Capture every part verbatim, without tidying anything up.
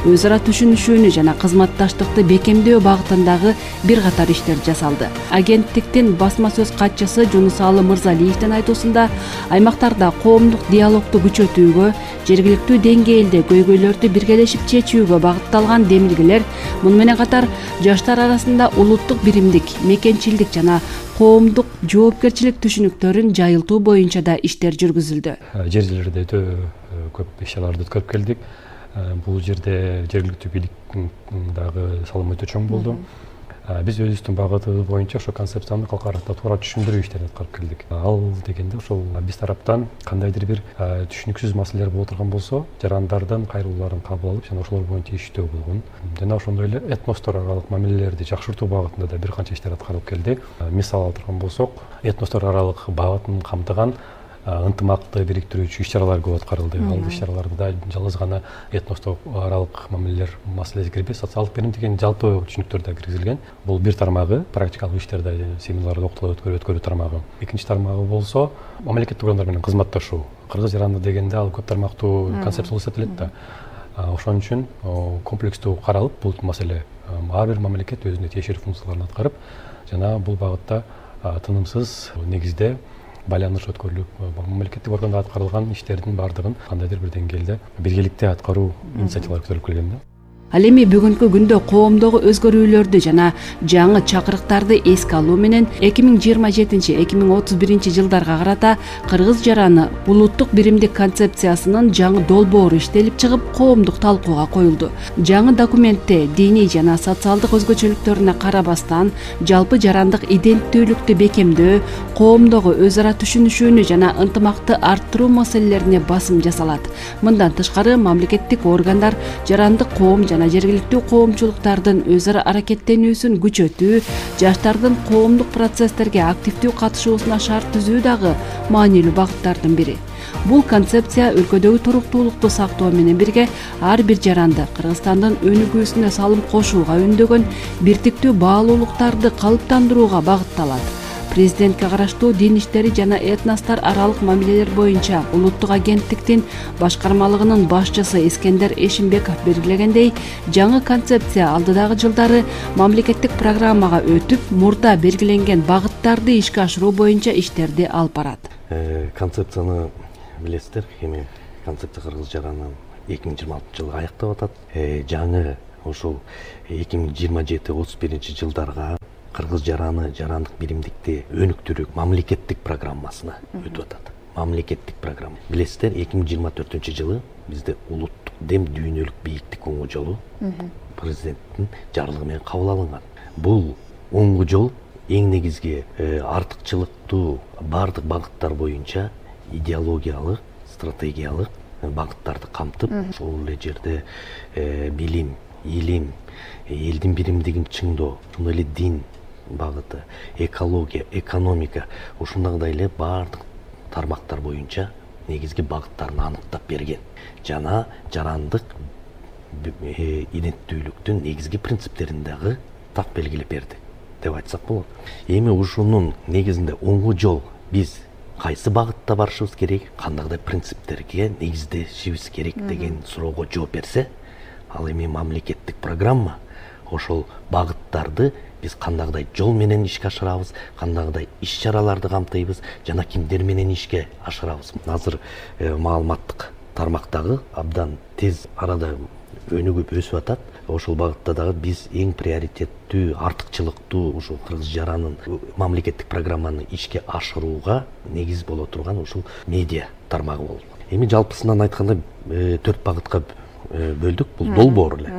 өз ара түшүнүшүүнү жана кызматташтыкты бекемдөө багытындагы бир катар иштер жасалды. Агенттиктин басма сөз катчысы Жунусалы Мырзалиевдин айтуусунда аймактарда коомдук диалогду күчөтүүгө, жергиликтүү деңгээлде көйгөйлөрдү биргелешип чечүүгө багытталган демилгелер, муну менен катар жаштар арасында улуттук биримдик, мекенчилдик жана коомдук жоопкерчилик түшүнүктөрүн жайылтуу боюнча да иштер жүргүзүлдү. Жер жерлерде өтө көп иш-чараларды өткөрүп келдик. Бул жерде жергиликтүү бийликтин дагы салымы өтө чоң болду. Биз өзүбүздүн багытыбыз боюнча ошо концепцияны калкаракта туура түшүндүрүү иштерин аткарып келдик. Ал дегенде ошол биз тараптан кандайдыр бир түшүнүксүз маселелер болуп турган болсо, жарандардын кайрылууларын кабыл алып, жана ошолор боюнча иштөө болгон. Жана ошондой эле этностор аралык мамилелерди жакшыртуу багытында да бир канча иштер аткарылып келди. Мисал алып турган болсок, этностор аралык багытын камтыган ынтымакты бириктирүүчү иш-чаралар көп аткарылды. Ал иш-чараларда да жалгыз гана этностор аралык мамилелер маселеси кирбей, социалдык берим деген жалпы түшүнүктөр да киргизилген. Бул бир тармагы, практикалык иштерде семинарларды октолуп өткөрүү өткөрүү тармагы. Экинчи тармагы болсо, мамлекеттик органдар менен кызматташуу. Кыргыз жаранды дегенде ал көп тармактуу концепция болуп эсептелет да. Ошон үчүн комплекстүү каралып, бул маселе ар бир мамлекет өзүнө тиешелүү функцияларын аткарып, жана бул багытта тынымсыз негизде байланыш өткөрүлүп, мамлекеттик органда аткарылган иштердин баардыгын кандайдыр бир деңгээлде биргеликте аткаруу инициативалары көтөрүлүп келген да. Ал эми бүгүнкү күндө коомдогу өзгөрүүлөрдү жана жаңы чакырыктарды эске алуу менен эки миң жыйырма жетинчи — эки миң отуз биринчи жылдарга карата кыргыз жараны улуттук биримдик концепциясынын жаңы долбоору иштелип чыгып, коомдук талкууга коюлду. Жаңы документте диний жана социалдык өзгөчөлүктөрүнө карабастан жалпы жарандык иденттүүлүктү бекемдөө, коомдогу өз ара түшүнүшүүнү жана ынтымакты арттыруу маселелерине басым жасалат. Мындан тышкары мамлекеттик органдар жарандык коом жана жергиликтүү коомчулуктардын өз ара аракеттенүүсүн күчөтүү, жаштардын коомдук процесстерге активдүү катышуусуна шарт түзүү дагы маанилүү багыттардын бири. Бул концепция өлкөдөгү туруктуулукту сактоо менен бирге ар бир жаранды Кыргызстандын өнүгүүсүнө салым кошууга үндөгөн биртиктүү баалуулуктарды калыптандырууга багытталат. Президентке караштуу дин иштери жана этностор аралык мамилелер боюнча улуттук агенттиктин башкармалыгынын башчысы Эскендер Эшимбеков белгилегендей, жаңы концепция алдыдагы жылдары мамлекеттик программага өтүп, мурда белгиленген багыттарды ишке ашыруу боюнча иштерди алып барат. Концепцияны билесиздер, эми концепция кыргыз жараны эки миң жыйырма алтынчы жылы аяктап атат. Жаңы ошол эки миң жыйырма жети — отуз биринчи жылдарга кыргыз жараны жарандык биримдикти өнүктүрүү мамлекеттик программасына өтүп атат. Мамлекеттик программа. Билесиздер, эки миң жыйырма төртүнчү жылы бизде улуттук дем дүйнөлүк бийиктик оңгу жолу президенттин жарлыгы менен кабыл алынган. Бул оңгу жол эң негизги артыкчылыктуу бардык багыттар боюнча идеологиялык, стратегиялык багыттарды камтып, ошол эле жерде билим, илим, элдин биримдигин чыңдоо, ошондой эле дин багыты, экология, экономика, ушундагыдай эле бардык тармактар боюнча негизги багыттарын аныктап берген. Жана жарандык иденттүүлүктүн негизги принциптерин дагы так белгилеп берди деп айтсак болот. Эми ушунун негизинде оңгу жол, биз кайсы багытта барышыбыз керек, кандайдай принциптерге негиздешибиз керек деген суроого жооп берсе, ал эми мамлекеттик программа ошол багыттарды биз кандайдай жол менен ишке ашырабыз, кандайдай иш-чараларды камтыйбыз жана кимдер менен ишке ашырабыз. Азыр маалыматтык тармактагы абдан тез арада өнүгүп өсүп атат. Ошол багытта дагы биз эң приоритеттүү, артыкчылыктуу ушул кыргыз жаранын мамлекеттик программаны ишке ашырууга негиз боло турган ушул медиа тармагы болду. Эми жалпысынан айтканда төрт багытка бөлдүк. Бул долбоор эле.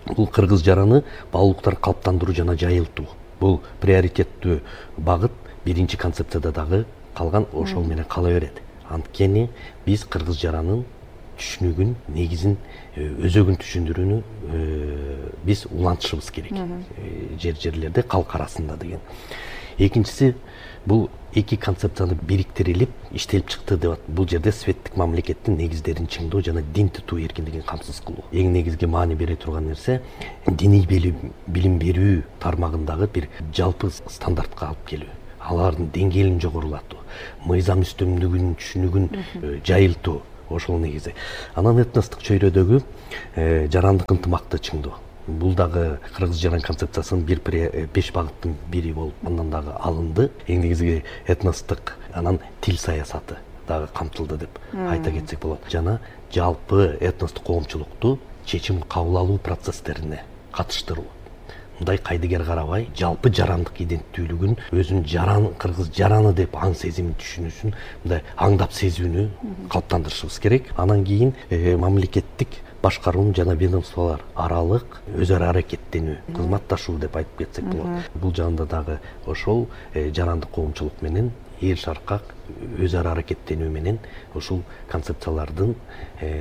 Бул кыргыз жараны баалуулуктарды калыптандыруу жана жайылтуу. Бул приоритеттүү багыт биринчи концепцияда дагы калган, ошол менен кала берет. Анткени биз кыргыз жаранын түшүнүгүн, негизин, өзөгүн түшүндүрүүнү биз улантышыбыз керек. Жер жерлерде калк арасында деген. Экинчиси, бул эки концепцияны бириктирилип иштелип чыкты деп атат. Бул жерде светтик мамлекеттин негиздерин чыңдоо жана дин тутуу эркиндигин камсыз кылуу. Эң негизги маани бере турган нерсе диний билим берүү тармагындагы бир жалпы стандартка алып келүү. Алардын деңгээлин жогорулатуу, мыйзам үстөмдүгүнүн түшүнүгүн жайылтуу. ошол негизи. Анан этностук чөйрөдөгү жарандык ынтымакты чыңдоо. Бул дагы кыргыз жаран концепциясынын бир беш багыттын бири болуп андан дагы алынды. Эң негизги этностук, анан тил саясаты дагы камтылды деп айта кетсек болот. Жана жалпы этностук коомчулукту чечим кабыл алуу процесстерине катыштыруу. Мындай кайдыгер карабай, жалпы жарандык иденттүүлүгүн, өзүн жаран, кыргыз жараны деп аң сезимин түшүнүүсүн мындай аңдап сезүүнү калыптандырышыбыз керек. Анан кийин мамлекеттик башкаруунун жана ведомстволор аралык өз ара аракеттенүү, кызматташуу деп айтып кетсек болот. Бул жагында дагы ошол жарандык коомчулук менен эл шаркак өз ара аракеттенүү менен ушул концепциялардын,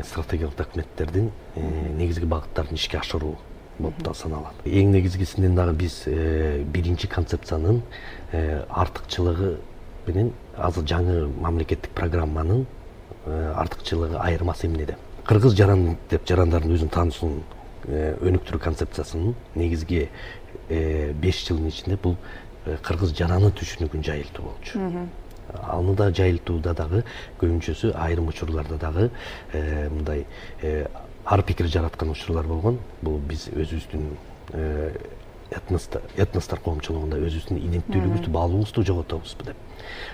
стратегиялык документтердин негизги багыттарын ишке ашыруу болуп да саналат. Эң негизгисинен дагы биз биринчи концепциянын артыкчылыгы менен азыр жаңы мамлекеттик программанын артыкчылыгы айырмасы эмнеде? Кыргыз жаран деп жарандардын өзүн таануусун өнүктүрүү концепциясынын негизги беш жылдын ичинде бул кыргыз жараны түшүнүгүн жайылтуу болчу. Аны да жайылтууда дагы көбүнчөсү айрым учурларда дагы мындай ар пикир жараткан учурлар болгон. Бул биз өзүбүздүн этностор коомчулугунда өзүбүздүн иденттүүлүгүбүздү, баалуулугубузду жоготобузбу деп.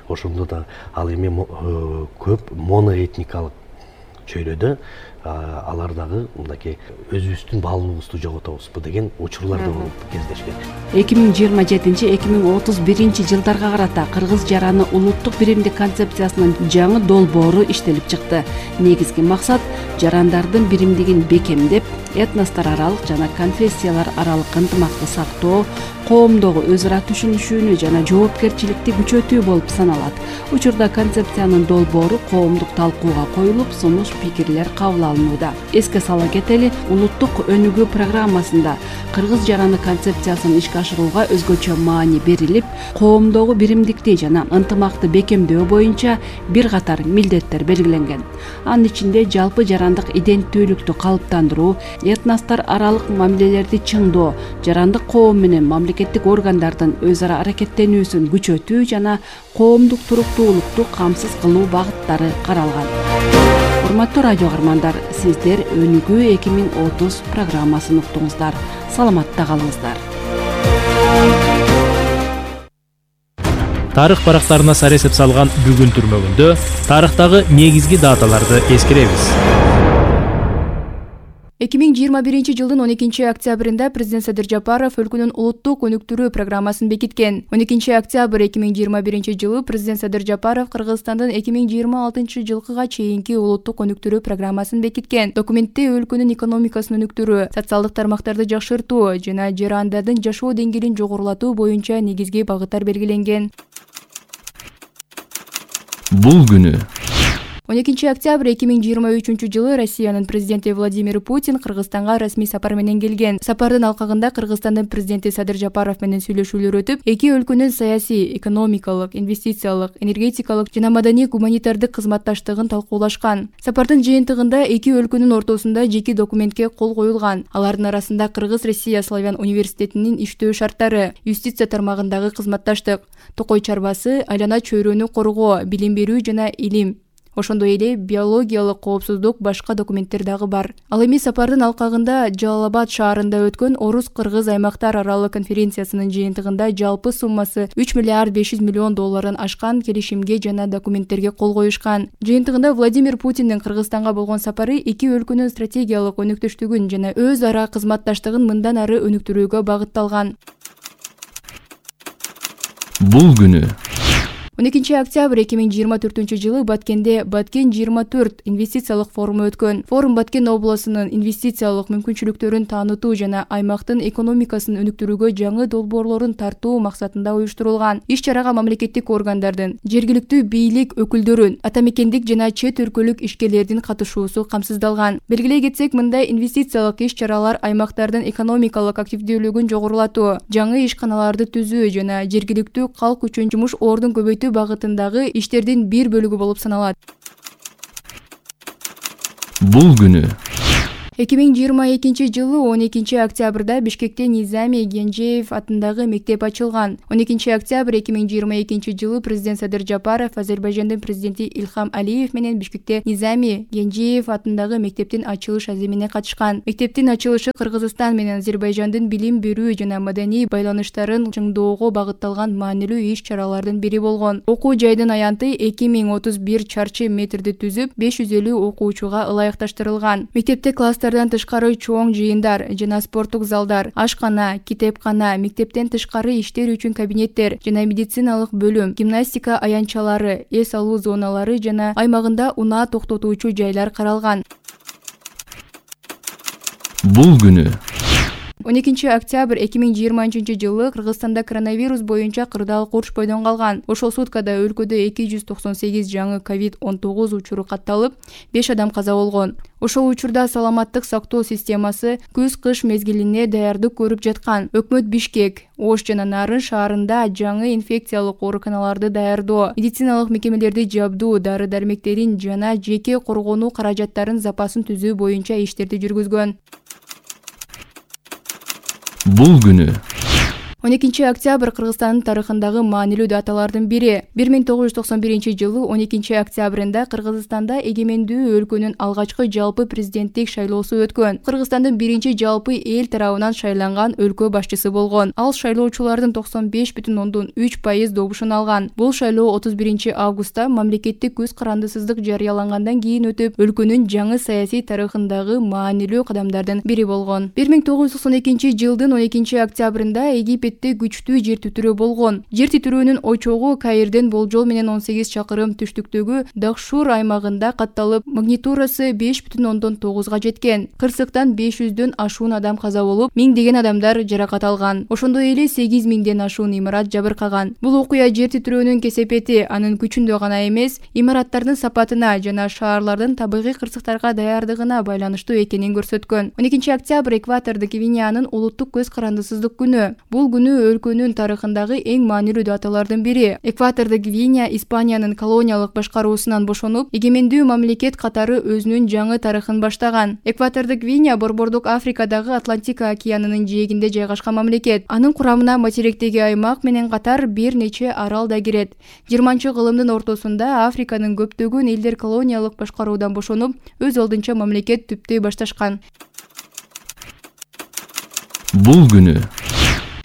Ошондо да ал эми көп моноэтникалык чөйрөдө алар дагы мындайки өзүбүздүн баалуулугубузду жоготобузбу деген учурлар да болуп кездешкен. эки миң жыйырма жетинчи эки миң отуз биринчи жылдарга карата кыргыз жараны улуттук биримдик концепциясынын жаңы долбоору иштелип чыкты. Негизги максат жарандардын биримдигин бекемдеп, этностор аралык жана конфессиялар аралык ынтымакты сактоо, коомдогу өз ара түшүнүшүүнү жана жоопкерчиликти күчөтүү болуп саналат. Учурда концепциянын долбоору коомдук талкууга коюлуп, сунуш пикирлер кабыл алынууда. Эске сала кетели, улуттук өнүгүү программасында кыргыз жараны концепциясын ишке ашырууга өзгөчө маани берилип, коомдогу биримдикти жана ынтымакты бекемдөө боюнча бир катар милдеттер белгиленген. Анын ичинде жалпы жарандык иденттүүлүктү калыптандыруу, этностор аралык мамилелерди чыңдоо, жарандык коом менен мамлекеттик органдардын өз ара аракеттенүүсүн күчөтүү жана коомдук туруктуулукту камсыз кылуу багыттары каралган. Урматтуу радио каармандар, сиздер Өнүгүү эки миң отуз программасын уктуңуздар. Саламатта калыңыздар. Тарых барактарына сар эсеп салган бүгүн түрмөгүндө тарыхтагы негизги даталарды эскеребиз. эки миң жыйырма биринчи жылдын он экинчи октябрында президент Садыр Жапаров өлкөнүн улуттук өнүктүрүү программасын бекиткен. он экинчи октябрь эки миң жыйырма биринчи жылы президент Садыр Жапаров Кыргызстандын эки миң жыйырма алтынчы жылкыга чейинки улуттук өнүктүрүү программасын бекиткен. Документте өлкөнүн экономикасын өнүктүрүү, социалдык тармактарды жакшыртуу жана жарандардын жашоо деңгээлин жогорулатуу боюнча негизги багыттар белгиленген. Бул күнү он экинчи октябрь эки миң жыйырма үчүнчү жылы Россиянын президенти Владимир Путин Кыргызстанга расмий сапар менен келген. Сапардын алкагында Кыргызстандын президенти Садыр Жапаров менен сүйлөшүүлөр өтүп, эки өлкөнүн саясий, экономикалык, инвестициялык, энергетикалык жана маданий гуманитардык кызматташтыгын талкуулашкан. Сапардын жыйынтыгында эки өлкөнүн ортосунда жеке документке кол коюлган. Алардын арасында Кыргыз-Россия Славян университетинин иштөө шарттары, юстиция тармагындагы кызматташтык, токой чарбасы, айлана чөйрөнү коргоо, билим берүү жана илим, ошондой эле биологиялык коопсуздук башка документтер дагы бар. Ал эми сапардын алкагында Жалал-Абад шаарында өткөн Орус-Кыргыз аймактар аралык конференциясынын жыйынтыгында жалпы суммасы үч миллиард беш жүз миллион долларын ашкан келишимге жана документтерге кол коюшкан. Жыйынтыгында Владимир Путиндин Кыргызстанга болгон сапары эки өлкөнүн стратегиялык өнүктүштүгүн жана өз ара кызматташтыгын мындан ары өнүктүрүүгө багытталган. Бул күнү он экинчи октябрь эки миң жыйырма төртүнчү жылы Баткенде Баткен жыйырма төрт инвестициялык форуму өткөн. Форум Баткен облусунун инвестициялык мүмкүнчүлүктөрүн таанытуу жана аймактын экономикасын өнүктүрүүгө жаңы долбоорлорун тартуу максатында уюштурулган. Иш-чарага мамлекеттик органдардын, жергиликтүү бийлик өкүлдөрүн, атамекендик жана чет өлкөлүк ишкерлердин катышуусу камсыздалган. Белгилей кетсек, мындай инвестициялык иш-чаралар аймактардын экономикалык активдүүлүгүн жогорулатуу, жаңы ишканаларды түзүү жана жергиликтүү калк үчүн жумуш ордун көбөйтүү багытындагы иштердин бир бөлүгү болуп саналат. Бул күнү эки миң жыйырма экинчи жылы он экинчи октябрда Бишкекте Низами Генжеев атындагы мектеп ачылган. он экинчи октябрь эки миң жыйырма экинчи жылы президент Садыр Жапаров Азербайжандын президенти Илхам Алиев менен Бишкекте Низами Генжеев атындагы мектептин ачылыш аземине катышкан. Мектептин ачылышы Кыргызстан менен Азербайжандын билим берүү жана маданий байланыштарын чыңдоого багытталган маанилүү иш-чаралардын бири болгон. Окуу жайдын аянты эки миң отуз бир чарчы метрди түзүп, беш жүз элүү окуучуга ылайыкташтырылган. Мектепте класстардан тышкары чоң жыйындар жана спорттук залдар, ашкана, китепкана, мектептен тышкары иштер үчүн кабинеттер жана медициналык бөлүм, гимнастика аянтчалары, эс алуу зоналары жана аймагында унаа токтотуучу жайлар каралган. Бул күнү он экинчи октябрь эки миң жыйырманчы жылы Кыргызстанда коронавирус боюнча кырдаал курч бойдон калган. Ошол суткада өлкөдө эки жүз токсон сегиз жаңы ковид он тогуз учуру катталып, беш адам каза болгон. Ошол учурда саламаттык сактоо системасы күз-кыш мезгилине даярдык көрүп жаткан. Өкмөт Бишкек, Ош жана Нарын шаарында жаңы инфекциялык ооруканаларды даярдоо, медициналык мекемелерди жабдуу, дары-дармектерин жана жеке коргонуу каражаттарын запасын түзүү боюнча иштерди жүргүзгөн. Бул күнү он экинчи октябрь Кыргызстандын тарыхындагы маанилүү даталардын бири. бир миң тогуз жүз токсон биринчи жылы он экинчи октябрында Кыргызстанда эгемендүү өлкөнүн алгачкы жалпы президенттик шайлоосу өткөн. Кыргызстандын биринчи жалпы эл тарабынан шайланган өлкө башчысы болгон. Ал шайлоочулардын токсон беш бүтүн ондон үч пайыз добушун алган. Бул шайлоо отуз биринчи августта мамлекеттик көз карандысыздык жарыялангандан кийин өтүп, өлкөнүн жаңы саясий тарыхындагы маанилүү кадамдардын бири болгон. бир миң тогуз жүз токсон экинчи жылдын он экинчи октябрында Египет күчтүү жер титирөө болгон. Жер титирөөнүн очогу Каирден болжол менен он сегиз чакырым түштүктөгү Дахшур аймагында катталып, магнитурасы беш бүтүн ондон тогузга жеткен. Кырсыктан беш жүздөн ашуун адам каза болуп, миңдеген адамдар жаракат алган. Ошондой эле сегиз миңден ашуун имарат жабыркаган. Бул окуя жер титирөөнүн кесепети анын күчүндө гана эмес, имараттардын сапатына жана шаарлардын табигый кырсыктарга даярдыгына байланыштуу экенин көрсөткөн. он экинчи октябрь Экватордук Гвинеянын улуттук көз карандысыздык күнү. Бул күнү өлкөнүн тарыхындагы эң маанилүү даталардын бири. Экватордук Гвинея Испаниянын колониялык башкаруусунан бошонуп, эгемендүү мамлекет катары өзүнүн жаңы тарыхын баштаган. Экватордук Гвинея Борбордук Африкадагы Атлантика океанынын жээгинде жайгашкан мамлекет. Анын курамына материктеги аймак менен катар бир нече арал да кирет. жыйырманчы кылымдын ортосунда Африканын көптөгөн элдер колониялык башкаруудан бошонуп, өз алдынча мамлекет түптөй башташкан. Бул күнү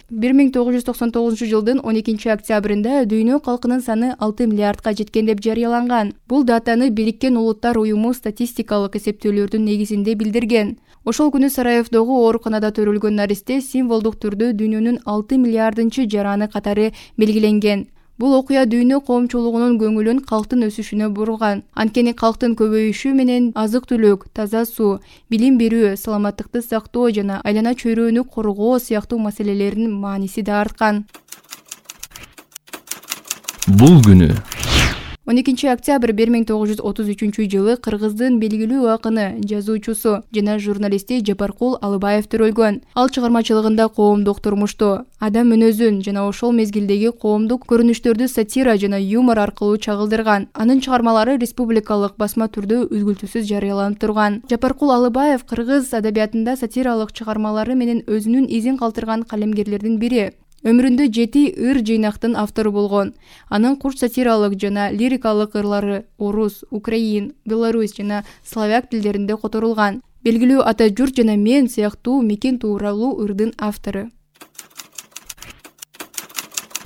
бир миң тогуз жүз токсон тогузунчу жылдын он экинчи октябрында дүйнө калкынын саны алты миллиардка жеткен деп жарыяланган. Бул датаны Бириккен Улуттар уюму статистикалык эсептөөлөрдүн негизинде билдирген. Ошол күнү Сараевдогу ооруканада төрөлгөн наристе символдук түрдө дүйнөнүн алты миллиардынчы жараны катары белгиленген. Бул окуя дүйнө коомчулугунун көңүлүн калктын өсүшүнө бурган. Анткени калктын көбөйүшү менен азык-түлүк, таза суу, билим берүү, саламаттыкты сактоо жана айлана чөйрөнү коргоо сыяктуу маселелердин мааниси да арткан. Бул күнү он экинчи октябрь бир миң тогуз жүз отуз үчүнчү жылы Кыргыздын белгилүү акыны, жазуучусу жана журналисти Жапаркул Алыбаев төрөлгөн. Ал чыгармачылыгында коомдук турмушту, адам мүнөзүн жана ошол мезгилдеги коомдук көрүнүштөрдү сатира жана юмор аркылуу чагылдырган. Анын чыгармалары республикалык басма түрдө үзгүлтүсүз жарыяланып турган. Жапаркул Алыбаев кыргыз адабиятында сатиралык чыгармалары менен өзүнүн изин калтырган калемгерлердин бири. Өмүрүндө жети ыр жыйнактын автору болгон. Анын курч сатиралык жана лирикалык ырлары орус, украин, беларусь жана славяк тилдеринде которулган. Белгилүү Ата журт жана мен сыяктуу мекен тууралуу ырдын автору.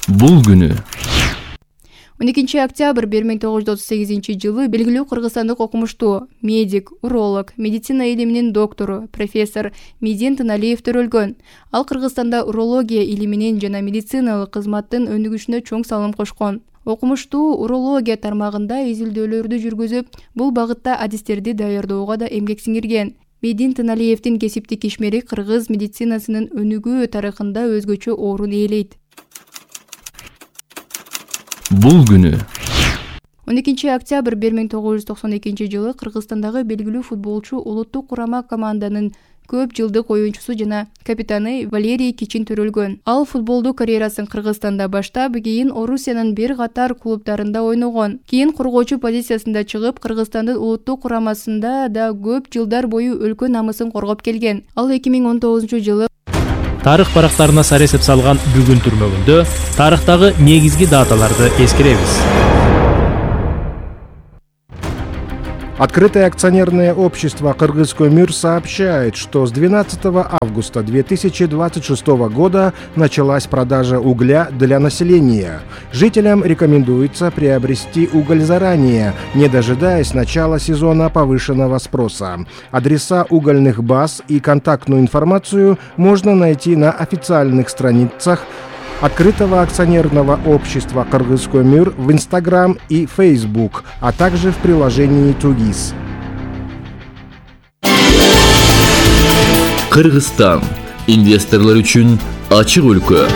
Бул күнү он экинчи октябрь бир миң тогуз жүз отуз сегизинчи жылы белгилүү кыргызстандык окумуштуу, медик, уролог, медицина илиминин доктору, профессор Медин Тыналиев төрөлгөн. Ал Кыргызстанда урология илиминин жана медициналык кызматтын өнүгүшүнө чоң салым кошкон. Окумуштуу урология тармагында изилдөөлөрдү жүргүзүп, бул багытта адистерди даярдоого да эмгек сиңирген. Медин Тыналиевдин кесиптик ишмери кыргыз медицинасынын өнүгүү тарыхында өзгөчө орун ээлейт. Бул күнү он экинчи октябрь бир миң тогуз жүз токсон экинчи жылы Кыргызстандагы белгилүү футболчу улуттук курама команданын көп жылдык оюнчусу жана капитаны Валерий Кичин төрөлгөн. Ал футболдук карьерасын Кыргызстанда баштап, кийин Орусиянын бир катар клубдарында ойногон. Кийин коргоочу позициясында чыгып, Кыргызстандын улуттук курамасында да көп жылдар бою өлкө намысын коргоп келген. Ал эки миң он тогузунчу жылы тарых барактарына сар эсеп салган бүгүн түрмөгүндө тарыхтагы негизги даталарды эскеребиз. Открытое акционерное общество «Кыргызкөмүр» сообщает, что с двенадцатого августа две тысячи двадцать шестого года началась продажа угля для населения. Жителям рекомендуется приобрести уголь заранее, не дожидаясь начала сезона повышенного спроса. Адреса угольных баз и контактную информацию можно найти на официальных страницах Открытого акционерного общества «Кыргызкөмүр» в Инстаграм и Фейсбук, а также в приложении «Тугис». Кыргызстан. Инвесторлар үчүн ачык өлкө.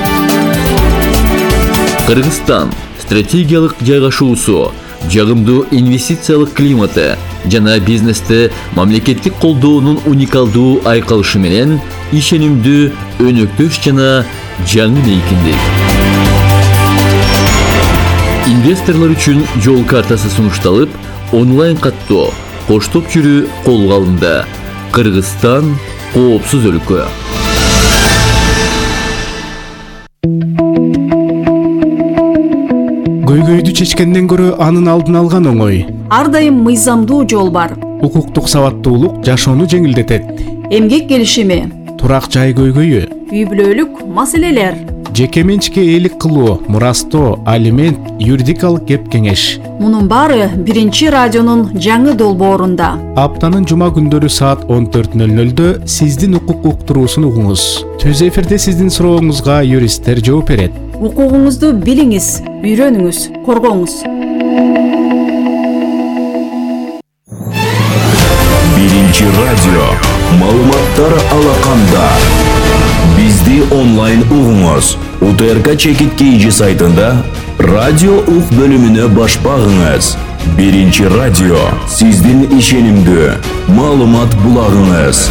Кыргызстан стратегиялык жайгашуусу, жагымдуу инвестициялык климаты жана бизнесте мамлекеттик колдоонун уникалдуу айкалышы менен ишенимдүү, өнөктөш жана жаңы мейкиндик. Инвесторлор үчүн жол картасы сунушталып, онлайн каттоо, коштоп жүрүү колго алынды. Кыргызстан коопсуз өлкө. Көйгөйдү чечкенден көрө анын алдын алган оңой. Ар дайым мыйзамдуу жол бар. Укуктук сабаттуулук жашоону жеңилдетет. Эмгек келишими, турак жай көйгөйү, үй бүлөлүк маселелер, жеке менчикке ээлик кылуу, мурастоо, алимент, юридикалык кеп кеңеш. Мунун баары биринчи радионун жаңы долбоорунда. Аптанын жума күндөрү саат он төрт нөл нөлдө сиздин укук уктуруусун угуңуз. Түз эфирде сиздин сурооңузга юристтер жооп берет. Укугуңузду билиңиз, үйрөнүңүз, коргоңуз. Биринчи радио. Маалыматтар алаканда. Бизди онлайн угуңуз. У Т Р К Чекит Кейджи сайтында радио ук бөлүмүнө баш багыңыз. Биринчи радио. Сиздин ишенимдүү маалымат булагыңыз.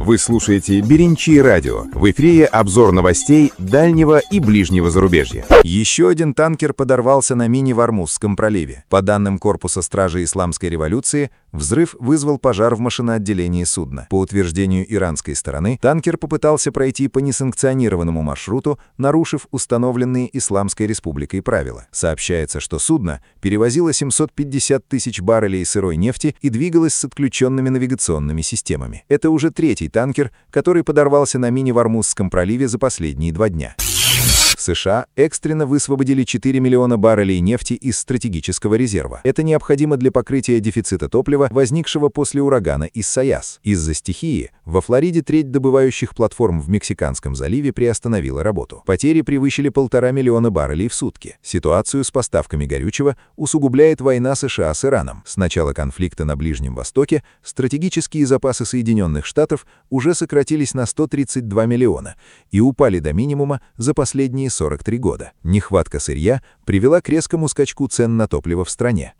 Вы слушаете «Биринчи радио». В эфире обзор новостей дальнего и ближнего зарубежья. Еще один танкер подорвался на мини в Ормузском проливе. По данным Корпуса стражи Исламской революции, взрыв вызвал пожар в машиноотделении судна. По утверждению иранской стороны, танкер попытался пройти по несанкционированному маршруту, нарушив установленные Исламской республикой правила. Сообщается, что судно перевозило семьсот пятьдесят тысяч баррелей сырой нефти и двигалось с отключенными навигационными системами. Это уже третий танкер, который подорвался на мини в Ормузском проливе за последние два дня. США экстренно высвободили четыре миллиона баррелей нефти из стратегического резерва. Это необходимо для покрытия дефицита топлива, возникшего после урагана Исайяс. Из-за стихии во Флориде треть добывающих платформ в Мексиканском заливе приостановила работу. Потери превысили полтора миллиона баррелей в сутки. Ситуацию с поставками горючего усугубляет война США с Ираном. С начала конфликта на Ближнем Востоке стратегические запасы Соединенных Штатов уже сократились на сто тридцать два миллиона и упали до минимума за последние сорок три года. Нехватка сырья привела к резкому скачку цен на топливо в стране.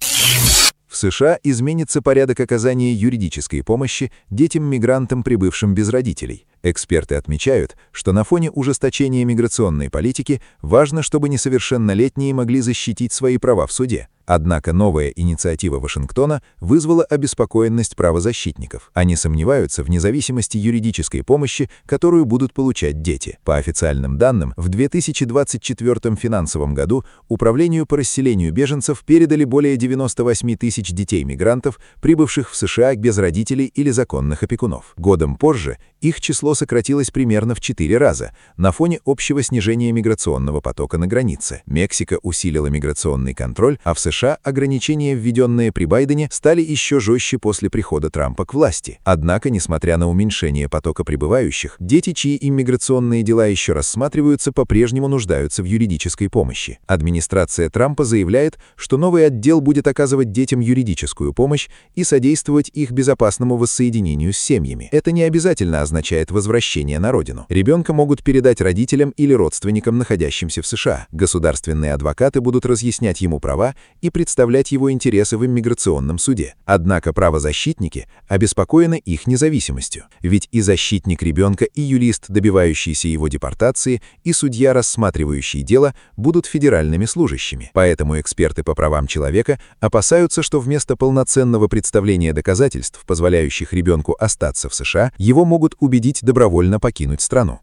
В США изменится порядок оказания юридической помощи детям-мигрантам, прибывшим без родителей. Эксперты отмечают, что на фоне ужесточения миграционной политики важно, чтобы несовершеннолетние могли защитить свои права в суде. Однако новая инициатива Вашингтона вызвала обеспокоенность правозащитников. Они сомневаются в независимости юридической помощи, которую будут получать дети. По официальным данным, в две тысячи двадцать четвёртом финансовом году Управлению по расселению беженцев передали более девяноста восьми тысяч детей-мигрантов, прибывших в США без родителей или законных опекунов. Годом позже их число сократилось примерно в четыре раза на фоне общего снижения миграционного потока на границе. Мексика усилила миграционный контроль, а в США ограничения, введенные при Байдене, стали еще жестче после прихода Трампа к власти. Однако, несмотря на уменьшение потока прибывающих, дети, чьи иммиграционные дела еще рассматриваются, по-прежнему нуждаются в юридической помощи. Администрация Трампа заявляет, что новый отдел будет оказывать детям юридическую помощь и содействовать их безопасному воссоединению с семьями. Это не обязательно означает возвращение на родину. Ребенка могут передать родителям или родственникам, находящимся в США. Государственные адвокаты будут разъяснять ему права и представлять его интересы в иммиграционном суде. Однако правозащитники обеспокоены их независимостью. Ведь и защитник ребенка, и юрист, добивающийся его депортации, и судья, рассматривающий дело, будут федеральными служащими. Поэтому эксперты по правам человека опасаются, что вместо полноценного представления доказательств, позволяющих ребенку остаться в США, его могут убедить добровольно покинуть страну.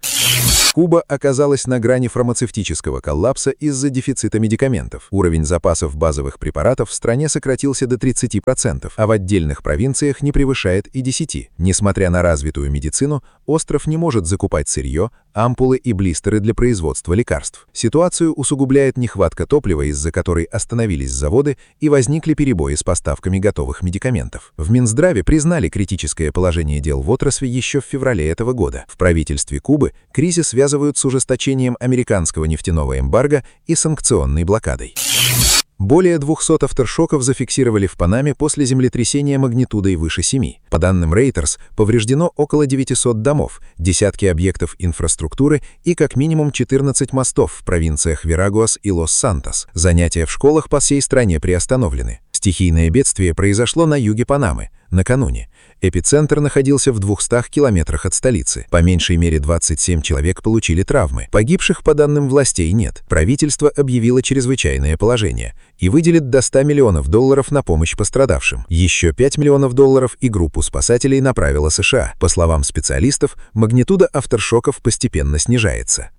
Куба оказалась на грани фармацевтического коллапса из-за дефицита медикаментов. Уровень запасов базовых препаратов в стране сократился до тридцати процентов, а в отдельных провинциях не превышает и десяти процентов. Несмотря на развитую медицину, остров не может закупать сырье, ампулы и блистеры для производства лекарств. Ситуацию усугубляет нехватка топлива, из-за которой остановились заводы и возникли перебои с поставками готовых медикаментов. В Минздраве признали критическое положение дел в отрасли еще в феврале этого года. В правительстве Кубы кризис связывают с ужесточением американского нефтяного эмбарго и санкционной блокадой. Более двухсот авторшоков зафиксировали в Панаме после землетрясения магнитудой выше семи. По данным Reuters, повреждено около девятисот домов, десятки объектов инфраструктуры и как минимум четырнадцать мостов в провинциях Верагуас и Лос-Сантос. Занятия в школах по всей стране приостановлены. Стихийное бедствие произошло на юге Панамы накануне. Эпицентр находился в двухстах километрах от столицы. По меньшей мере двадцать семь человек получили травмы. Погибших, по данным властей, нет. Правительство объявило чрезвычайное положение и выделит до ста миллионов долларов на помощь пострадавшим. Еще пять миллионов долларов и группу спасателей направила США. По словам специалистов, магнитуда авторшоков постепенно снижается.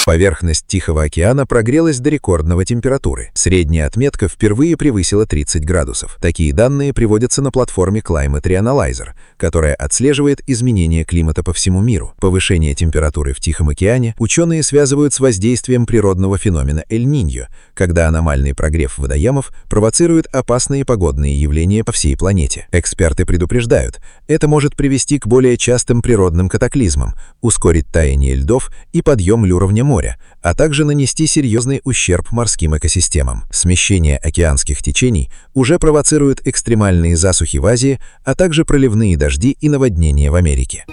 Поверхность Тихого океана прогрелась до рекордного температуры. Средняя отметка впервые превысила тридцать градусов. Такие данные приводятся на платформе Climate Reanalyzer, которая отслеживает изменения климата по всему миру. Повышение температуры в Тихом океане ученые связывают с воздействием природного феномена Эль-Ниньо, когда аномальный прогрев водоемов провоцирует опасные погодные явления по всей планете. Эксперты предупреждают, это может привести к более частым природным катаклизмам, ускорить таяние льдов и подъем уровня моря, а также нанести серьезный ущерб морским экосистемам. Смещение океанских течений уже провоцирует экстремальные засухи в Азии, а также проливные дожди и наводнения в Америке.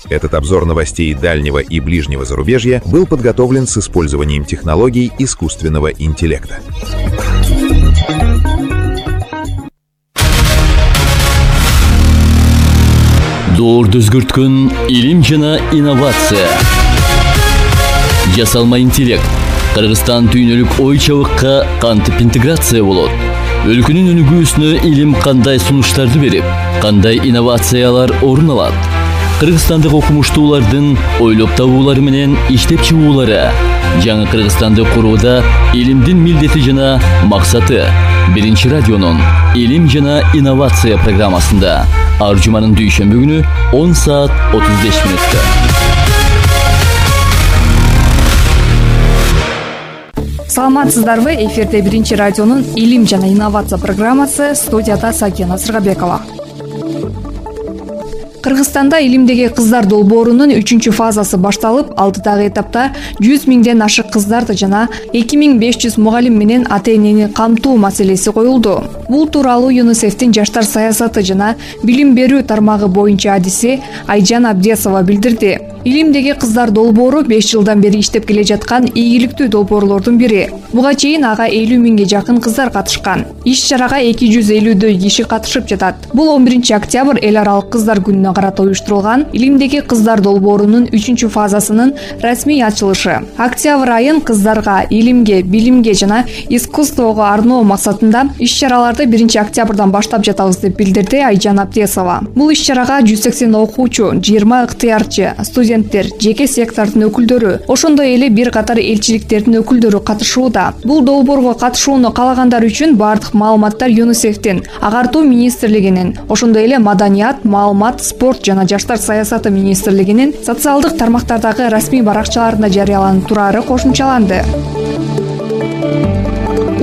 Этот обзор новостей дальнего и ближнего зарубежья был подготовлен с использованием технологий искусственного интеллекта. Доорду өзгөрткөн илим жана инновация. Жасалма интеллект. Кыргызстан түйнөлүк ой чабыкка кантип интеграция болот? Өлкөнүн өнүгүүсүнө илим кандай сунуштарды берип, кандай инновациялар орун алат? Кыргызстандык окумуштуулардын ойлоп табуулары менен иштеп чыгуулары жаңы Кыргызстанды курууда илимдин милдети жана максаты. Биринчи радионун илим жана инновация программасында ар жуманын дүйшөмбү күнү он саат отуз беш мүнөттө. Саламатсыздарбы? Эфирде Биринчи радионун илим жана инновация программасы, студияда Сакина Сыргабекова. Кыргызстанда илимдеги кыздар долбоорунун үчүнчү фазасы башталып, алдыдагы этапта жүз миңден ашык кыздарды жана эки миң беш жүз мугалим менен ата-энени камтуу маселеси коюлду. Бул тууралуу ЮНИСЕФтин жаштар саясаты жана билим берүү тармагы боюнча адиси Айжан Абдесова билдирди. Илимдеги кыздар долбоору беш жылдан бери иштеп келе жаткан ийгиликтүү долбоорлордун бири. Буга чейин ага элүү миңге жакын кыздар катышкан. Иш чарага эки жүз элүүдөй киши катышып жатат. Бул он биринчи октябрь эл аралык кыздар күнүнө карата уюштурулган илимдеги кыздар долбоорунун үчүнчү фазасынын расмий ачылышы. Октябрь айын кыздарга илимге, билимге жана искусствого арноо максатында иш чараларды биринчи октябрдан баштап жатабыз деп билдирди Айжан Абдесова. Бул иш чарага жүз сексен окуучу, жыйырма ыктыярчы, студенттер, жеке сектордун өкүлдөрү, ошондой эле бир катар элчиликтердин өкүлдөрү катышууда. Бул долбоорго катышууну каалагандар үчүн бардык маалыматтар ЮНИСЕФтин, агартуу министрлигинин, ошондой эле маданият, маалымат, спорт жана жаштар саясаты министрлигинин социалдык тармактардагы расмий баракчаларында жарыяланып турары кошумчаланды.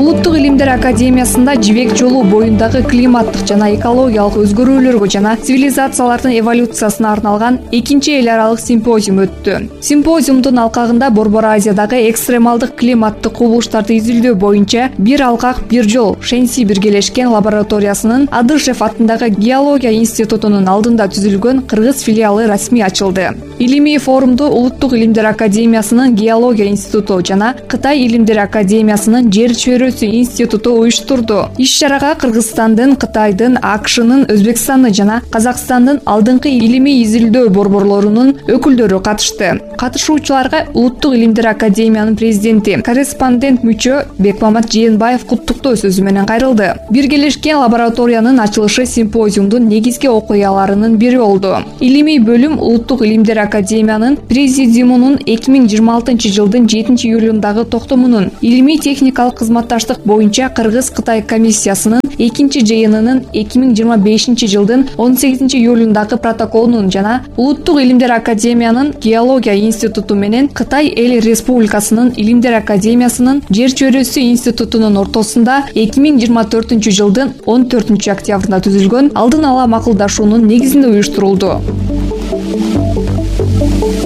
Улуттук илимдер академиясында жибек жолу боюндагы климаттык жана экологиялык өзгөрүүлөргө жана цивилизациялардын эволюциясына арналган экинчи эл аралык симпозиум өттү. Симпозиумдун алкагында Борбор Азиядагы экстремалдык климаттык кубулуштарды изилдөө боюнча бир алкак бир жол Шенси биргелешкен лабораториясынын Адышев атындагы геология институтунун алдында түзүлгөн кыргыз филиалы расмий ачылды. Илимий форумду Улуттук илимдер академиясынын геология институту жана Кытай илимдер академиясынын жер чөйрөсү институту уюштурду. Иш-чарага Кыргызстандын, Кытайдын, АКШнын, Өзбекстандын жана Казакстандын алдыңкы илимий изилдөө борборлорунун өкүлдөрү катышты. Катышуучуларга Улуттук илимдер академиянын президенти, корреспондент мүчө Бекмамат Жээнбаев куттуктоо сөзү менен кайрылды. Биргелешкен лабораториянын ачылышы симпозиумдун негизги окуяларынын бири болду. Илимий бөлүм Улуттук илимдер академиянын президиумунун эки миң жыйырма алтынчы жылдын жетинчи июлундагы токтомунун илимий техникалык кызматташтык боюнча Кыргыз-Кытай комиссиясынын экинчи жыйынынын эки миң жыйырма бешинчи жылдын он сегизинчи июлундагы протоколунун жана Улуттук илимдер академиянын геология институту менен Кытай эл республикасынын илимдер академиясынын жер чөйрөсү институтунун ортосунда эки миң жыйырма төртүнчү жылдын он төртүнчү октябрында түзүлгөн алдын ала макулдашуунун негизинде уюштурулду.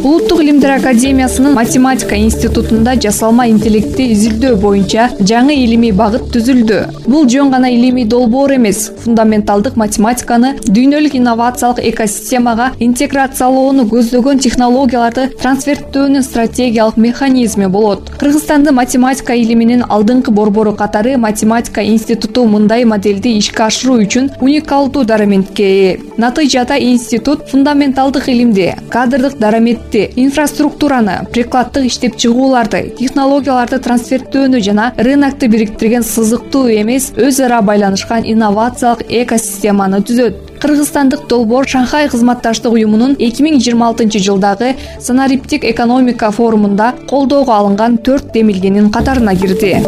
Улуттук илимдер академиясынын математика институтунда жасалма интеллектти изилдөө боюнча жаңы илимий багыт түзүлдү. Бул жөн гана илимий долбоор эмес, фундаменталдык математиканы дүйнөлүк инновациялык экосистемага интеграциялоону көздөгөн технологияларды трансферттөөнүн стратегиялык механизми болот. Кыргызстандын математика илиминин алдыңкы борбору катары математика институту мындай моделди ишке ашыруу үчүн уникалдуу дараматке ээ. Натыйжада институт фундаменталдык илимди, кадрдык дараметти, инфраструктураны, прикладдык иштеп чыгууларды, технологияларды трансферттөөнү жана рынокту бириктирген сызыктуу эмес, өз ара байланышкан инновациялык экосистеманы түзөт. Кыргызстандык долбоор Шанхай кызматташтык уюмунун эки миң жыйырма алтынчы жылдагы санариптик экономика форумунда колдоого алынган төрт демилгенин катарына кирди.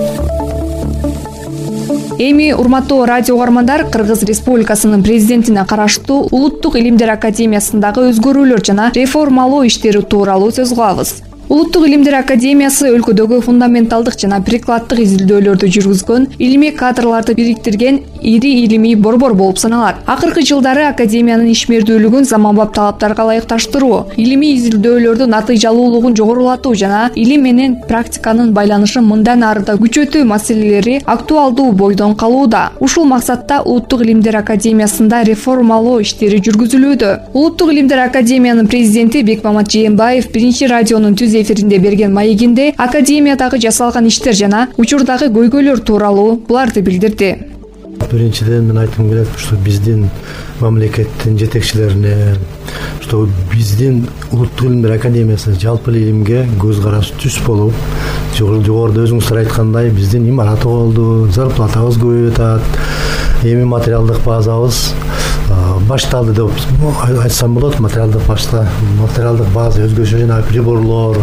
Эми урматтуу радио угармандар, Кыргыз Республикасынын президентине караштуу Улуттук илимдер академиясындагы өзгөрүүлөр жана реформалоо иштери тууралуу сөз кылабыз. Улуттук илимдер академиясы өлкөдөгү фундаменталдык жана прикладдык изилдөөлөрдү жүргүзгөн, илимий кадрларды бириктирген ири илимий борбор болуп саналат. Акыркы жылдары академиянын ишмердүүлүгүн заманбап талаптарга ылайыкташтыруу, илимий изилдөөлөрдүн натыйжалуулугун жогорулатуу жана илим менен практиканын байланышын мындан ары да күчөтүү маселелери актуалдуу бойдон калууда. Ушул максатта Улуттук илимдер академиясында реформалоо иштери жүргүзүлүүдө. Улуттук илимдер академиянын президенти Бекмамат Жээнбаев биринчи радионун түз эфиринде берген маегинде академиядагы жасалган иштер жана учурдагы көйгөйлөр тууралуу буларды билдирди. Биринчиден мен айткым келет, что биздин мамлекеттин жетекчилерине, что биздин Улуттук илимдер академиясы жалпы илимге көз карашы түз болуп, жогоруда өзүңүздөр айткандай биздин имарат болду, зарплатабыз көбөйүп атат, эми материалдык базабыз башталды деп айтсам болот. Материалдык башта материалдык база өзгөчө жана приборлор,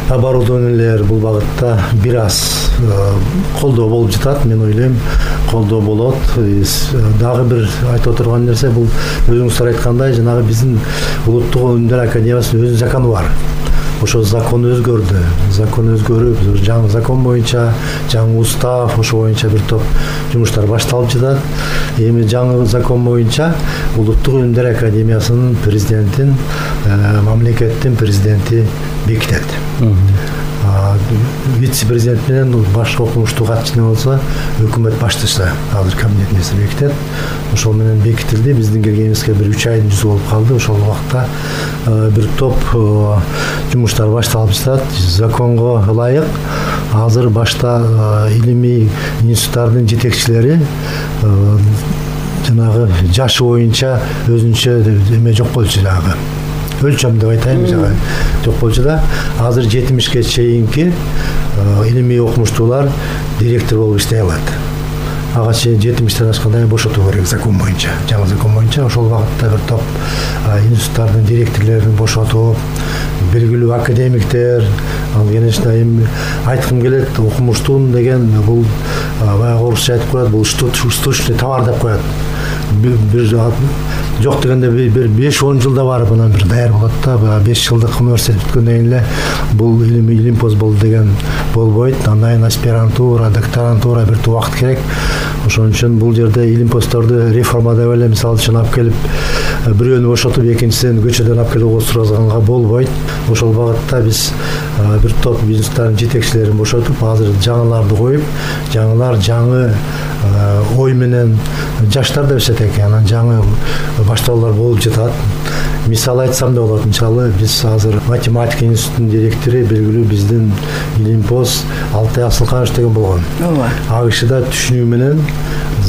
оборудованиелер бул багытта бир аз колдоо болуп жатат. Мен ойлойм, колдоо болот. Дагы бир айтып отурган нерсе бул өзүңүздөр айткандай жанагы биздин Улуттук илимдер академиясынын өзүнүн закону бар. Ошо закон өзгөрдү. Закон өзгөрүп, жаңы закон боюнча, жаңы устав, ошо боюнча бир топ жумуштар башталып жатат. Эми жаңы закон боюнча Улуттук илимдер академиясынын президентин, мамлекеттин президенти бекитет. Вице-президент менен башкы окумуштуу катчы болсо өкмөт баштышы азыр кабинет министри бекитет. Ошол менен бекитилди. Биздин келгенибизге бир үч айдын жүзү болуп калды. Ошол убакта бир топ жумуштар башталып жатат. Законго ылайык азыр башта илимий институттардын жетекчилери жанагы жашы боюнча өзүнчө эме жок болчу, жанагы өлчөм деп айтайын, жана жок болчу да. Азыр жетимишке чейинки илимий окумуштуулар директор болуп иштей алат. Ага чейин жетимиштен ашканда бошотуу керек закон боюнча, жаңы закон боюнча. Ошол багытта бир топ институттардын директорлорун бошотуп, белгилүү академиктер, ал конечно эми айткым келет, окумуштуун деген бул баягы орусча айтып коет, бул штучный товар деп коет. Бир жок дегенде бир беш он жылда барып анан бир даяр болот да. беш жылдык университет бүткөндөн кийин эле бул илим илимпоз болду деген болбойт. Андан кийин аспирантура, докторантура бир убакыт керек. Ошон үчүн бул жерде илимпоздорду реформадап эле мисалы үчүн алып келип бирөөнү бошотуп экинчисин көчөдөн алып келип отургузганга болбойт. Ошол багытта биз бир топ бизнестардын жетекчилерин бошотуп, азыр жаңыларды коюп, жаңылар жаңы ой менен жаштар да өсөт экен, анан жаңы баштоолор болуп жатат. Мисал айтсам да болот. Мисалы биз азыр математика институтунун директору белгилүү биздин Илимпоз Алтай Асылканович деген болгон. Ооба. Ал киши да түшүнүү менен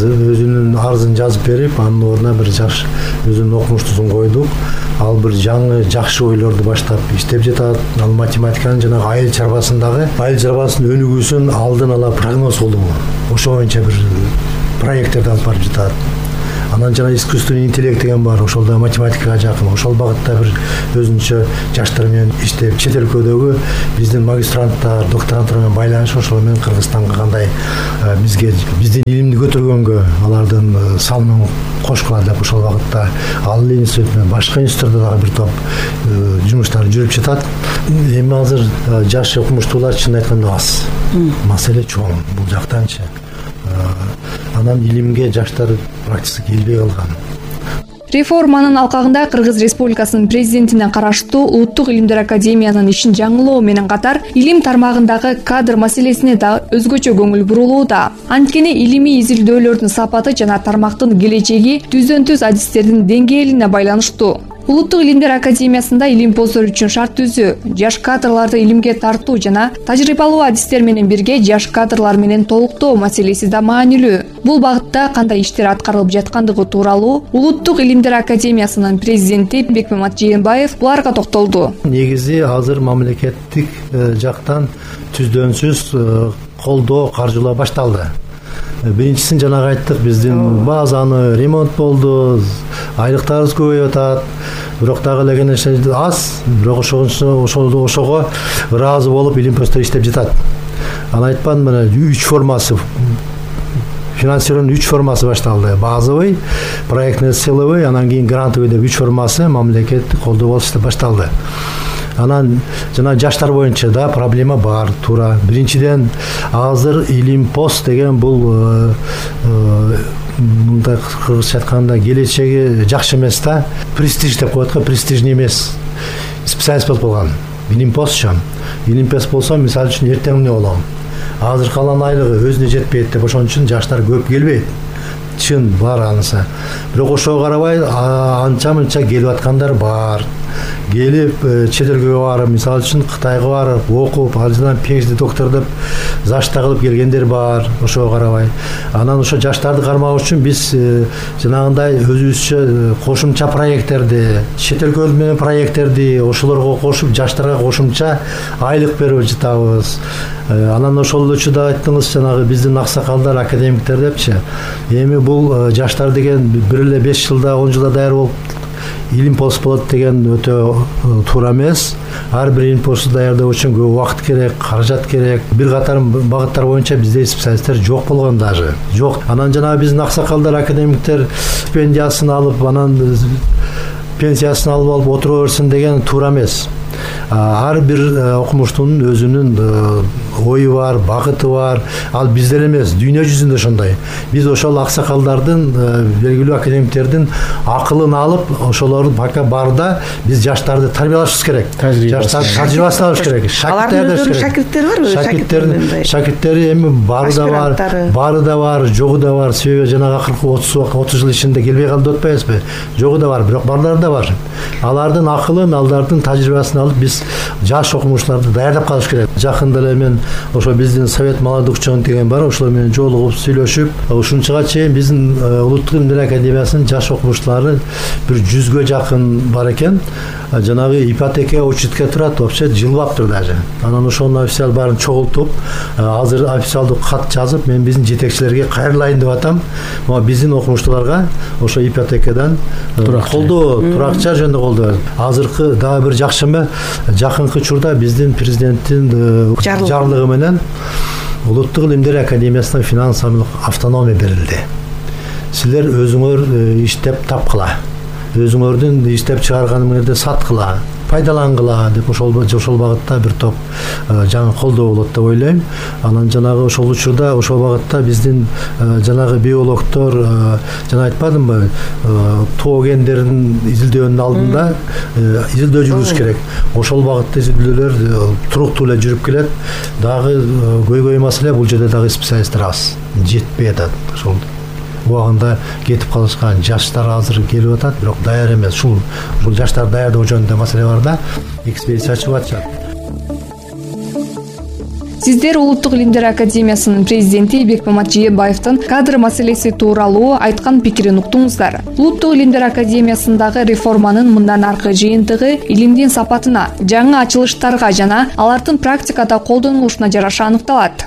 өзүнүн арызын жазып берип, анын ордуна бир жаш өзүнүн окумуштуусун койдук. Ал бир жаңы жакшы ойлорду баштап иштеп жатат. Ал математиканын жана айыл чарбасындагы айыл чарбасынын өнүгүүсүн алдын ала прогноз кылуу. Ошо боюнча бир проекттерди алып барып жатат. Анан жана искусственный интеллект деген бар, ошол да математикага жакын. Ошол багытта бир өзүнчө жаштар менен иштеп, чет өлкөдөгү биздин магистранттар, докторанттар менен байланыш, ошол менен Кыргызстанга кандай бизге биздин илимди көтөргөнгө алардын салымын кошкула деп ошол багытта ал институт менен башка институттарда дагы бир топ жумуштар жүрүп жатат. Эми азыр жаш окумуштуулар чын айтканда аз. Маселе чоң бул жактанчы. Анан илимге жаштар практически келбей калган. Реформанын алкагында Кыргыз Республикасынын президентине караштуу Улуттук илимдер академиянын ишин жаңылоо менен катар илим тармагындагы кадр маселесине да өзгөчө көңүл бурулууда. Анткени илимий изилдөөлөрдүн сапаты жана тармактын келечеги түздөн түз адистердин деңгээлине байланыштуу. Улуттук илимдер академиясында илимпоздор үчүн шарт түзүү, жаш кадрларды илимге тартуу жана тажрыйбалуу адистер менен бирге жаш кадрлар менен толуктоо маселеси да маанилүү. Бул багытта кандай иштер аткарылып жаткандыгы тууралуу Улуттук илимдер академиясынын президенти Бекмамат Жээнбаев буларга токтолду. Негизи азыр мамлекеттик жактан түздөнсүз колдоо, каржылоо башталды. Биринчисин жанагы айттык, биздин базаны ремонт болду, айлыктарыбыз көбөйүп атат. Бирок дагы эле аз, бирок ошого ошого ыраазы болуп илимпоздор иштеп жатат. Аны айтпадым, мына үч формасы финансирование үч формасы башталды. Базовый, проектный силовый, анан кийин грантовый деп үч формасы мамлекеттик колдоо болуп башталды. Анан жана жаштар боюнча да проблема бар, туура. Биринчиден азыр илимпоз деген бул мындай кыргызча айтканда келечеги жакшы эмес да. Престиж деп коет го, престижный эмес. Специалист болуп калган. Илимпозчу. Илимпоз болсо, мисалы үчүн эртең эмне болом? Азыр калган айлыгы өзүнө жетпейт деп, ошон үчүн жаштар көп келбейт. Чын бар анысы. Бирок ошого карабай анча-мынча келип аткандар бар. Келип чет элге барып, мисалы үчүн Кытайга барып, окуп, алжынан пенсия доктор деп зашта кылып келгендер бар, ошого карабай. Анан ошо жаштарды кармак үчүн биз жанагындай өзүбүзчө кошумча проекттерди, чет өлкө менен проекттерди ошолорго кошуп, жаштарга кошумча айлык берип жатабыз. Анан ошол эле да айттыңыз, жанагы биздин аксакалдар, академиктер депчи. Эми бул жаштар деген бир эле беш жылда, он жылда даяр болуп илимпоз болот деген өтө туура эмес. Ар бир илимпозду даярдоо үчүн көп убакыт керек, каражат керек. Бир катар багыттар боюнча бизде специалисттер жок болгон даже. Жок. Анан жана биздин аксакалдар, академиктер стипендиясын алып, анан пенсиясын алып алып отура берсин деген туура эмес. Ар бир окумуштуунун өзүнүн ою бар, багыты бар. Ал бизде эмес, дүйнө жүзүндө ошондой. Биз ошол аксакалдардын, белгилүү академиктердин акылын алып, ошолорду пока барда биз жаштарды тарбиялашыбыз керек. Жаштар тажрыйбасын алыш керек. Алардын шакирттери барбы? Шакирттер, шакирттери эми бары да бар, бары да бар, жогу да бар. Себеби жанагы акыркы отуз жыл ичинде келбей калды деп атпайбызбы? Жогу да бар, бирок барлары да бар. Алардын акылын, алардын тажрыйбасын алып биз жаш окумуштууларды даярдап калыш керек. Жакында эле мен ошо биздин Совет молодых ученых деген бар, ошолор менен жолугуп, сүйлөшүп, ушунчага чейин биздин Улуттук илимдер академиясынын жаш окумуштуулары бир жүзгө жакын бар экен. Жанагы ипотека учетке турат, вообще жылбаптыр даже. Анан ошонун официал баарын чогултуп, азыр официалдуу кат жазып, мен биздин жетекчилерге кайрылайын деп атам. Моа биздин окумуштууларга ошо ипотекадан колдоо, туракча жөнүндө колдоо. Азыркы дагы бир жакшымы, жакынкы учурда биздин президенттин жарлыгы менен Улуттук илимдер академиясына финансылык автономия берилди. Силер өзүңөр иштеп тапкыла. өзүңөрдүн иштеп чыгарганыңарды саткыла, пайдалангыла деп ошол ошол багытта бир топ жаңы колдоо болот деп ойлойм. Анан жанагы ошол учурда ошол багытта биздин жанагы биологдор жана айтпадымбы, тоо гендерин изилдөөнүн алдында изилдөө жүргүзүш керек. Ошол багытта изилдөөлөр туруктуу эле жүрүп келет. Дагы көйгөй маселе бул жерде дагы специалисттер аз, жетпей атат. Ошол убагында кетип калышкан жаштар азыр келип атат, бирок даяр эмес. Ушул ушул жаштар даярдоо жөнүндө маселе бар да, экспедиция ачып атышат. Сиздер Улуттук илимдер академиясынын президенти Бекмамат Жээнбаевдин кадр маселеси тууралуу айткан пикирин уктуңуздар. Улуттук илимдер академиясындагы реформанын мындан аркы жыйынтыгы илимдин сапатына, жаңы ачылыштарга жана алардын практикада колдонулушуна жараша аныкталат.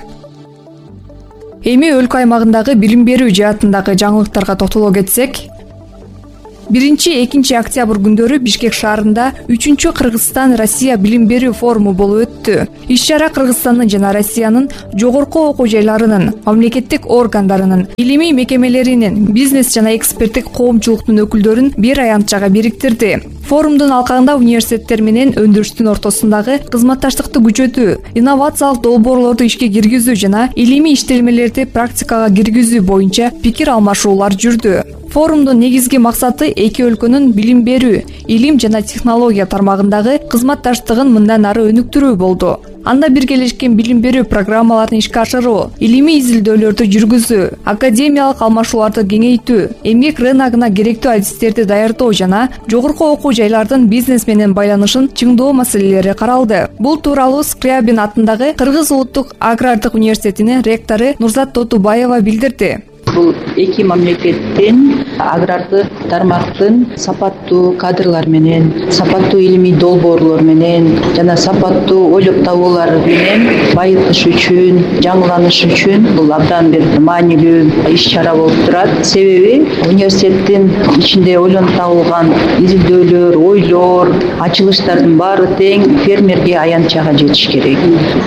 Эми өлкө аймагындагы билим берүү жаатындагы жаңылыктарга токтоло кетсек, биринчи экинчи октябрь күндөрү Бишкек шаарында үчүнчү Кыргызстан Россия билим берүү форуму болуп өттү. Иш-чара Кыргызстандын жана Россиянын жогорку окуу жайларынын, мамлекеттик органдарынын, илимий мекемелеринин, бизнес жана эксперттик коомчулуктун өкүлдөрүн бир аянтчага бириктирди. Форумдун алкагында университеттер менен өндүрүштүн ортосундагы кызматташтыкты күчөтүү, инновациялык долбоорлорду ишке киргизүү жана илимий иштелмелерди практикага киргизүү боюнча пикир алмашуулар жүрдү. Форумдун негизги максаты эки өлкөнүн билим берүү, илим жана технология тармагындагы кызматташтыгын мындан ары өнүктүрүү болду. Анда биргелешкен билим берүү программаларын ишке ашыруу, илимий изилдөөлөрдү жүргүзүү, академиялык алмашууларды кеңейтүү, эмгек рыногуна керектүү адистерди даярдоо жана жогорку окуу жайлардын бизнес менен байланышын чыңдоо маселелери каралды. Бул тууралуу Скрябин атындагы Кыргыз улуттук агрардык университетинин ректору Нурзат Тотубаева билдирди. Бул эки мамлекеттин агрардык тармактын сапаттуу кадрлар менен, сапаттуу илимий долбоорлор менен жана сапаттуу ойлоп табуулар менен байытыш үчүн, жаңыланыш үчүн бул абдан бир маанилүү иш-чара болуп турат. Себеби университеттин ичинде ойлонуп табылган изилдөөлөр, ойлор, ачылыштардын баары тең фермерге, аянтчага жетиш керек.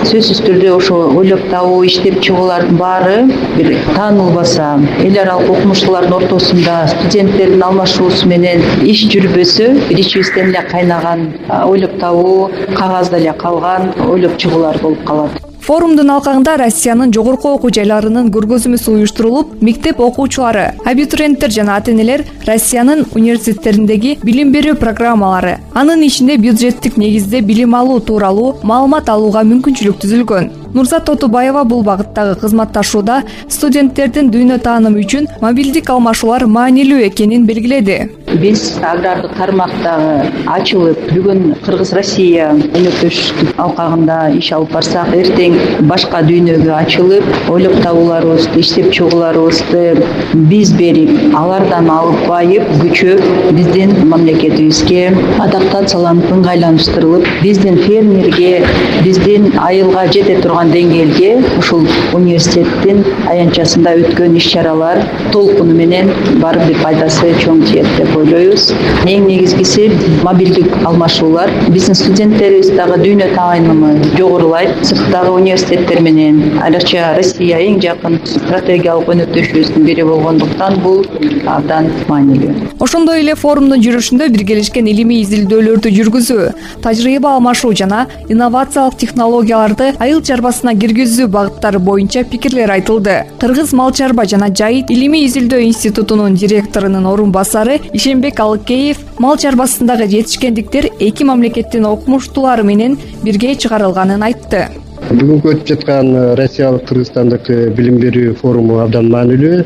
Сөзсүз түрдө ошо ойлоп табуу, иштеп чыгуулардын баары бир таанылбаса, эл аралык окумуштуулардын ортосунда студенттердин алмашуусу менен иш жүрбөсө, бир ичибизден эле кайнаган ойлоп табуу, кагазда эле калган ойлоп чыгуулар болуп калат. Форумдун алкагында Россиянын жогорку окуу жайларынын көргөзмөсү уюштурулуп, мектеп окуучулары, абитуриенттер жана ата-энелер Россиянын университеттериндеги билим берүү программалары, анын ичинде бюджеттик негизде билим алуу тууралуу маалымат алууга мүмкүнчүлүк түзүлгөн. Нурзат Тотубаева бул багыттагы кызматташууда студенттердин дүйнө таанымы үчүн мобилдик алмашуулар маанилүү экенин белгиледи. Биз агрардык тармактагы ачылып, бүгүн Кыргыз-Россия өнөктөштүк алкагында иш алып барсак, эртең башка дүйнөгө ачылып, ойлоп табууларыбызды, иштеп чыгууларыбызды биз берип, алардан алып байып, күчөп, биздин мамлекетибизге адаптацияланып, ыңгайланыштырылып, биздин фермерге, биздин айылга жете турган деңгээлге ушул университеттин аянтчасында өткөн иш-чаралар толкуну менен барып бир пайдасы чоң тиет деп ойлойбуз. Эң негизгиси мобилдик алмашуулар. Биздин студенттерибиз дагы дүйнө таанымы жогорулайт. Сырттагы университеттер менен, айрыкча Россия эң жакын стратегиялык өнөктөшүбүздүн бири болгондуктан бул абдан маанилүү. Ошондой эле форумдун жүрүшүндө биргелешкен илимий изилдөөлөрдү жүргүзүү, тажрыйба алмашуу жана инновациялык технологияларды айыл чарбасына киргизүү багыттары боюнча пикирлер айтылды. Кыргыз мал чарба жана жайыт илимий изилдөө институтунун директорунун орун басары Ишенбек Алыкеев мал чарбасындагы жетишкендиктер эки мамлекеттин окумуштуулары менен бирге чыгарылганын айтты. Бүгүнкү өтүп жаткан Россиялык Кыргызстандык билим берүү форуму абдан маанилүү.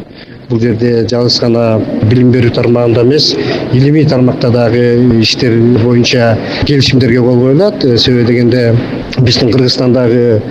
Бул жерде жалгыз гана билим берүү тармагында эмес, илимий тармакта дагы иштер боюнча келишимдерге кол коюлат. Себеби дегенде биздин Кыргызстандагы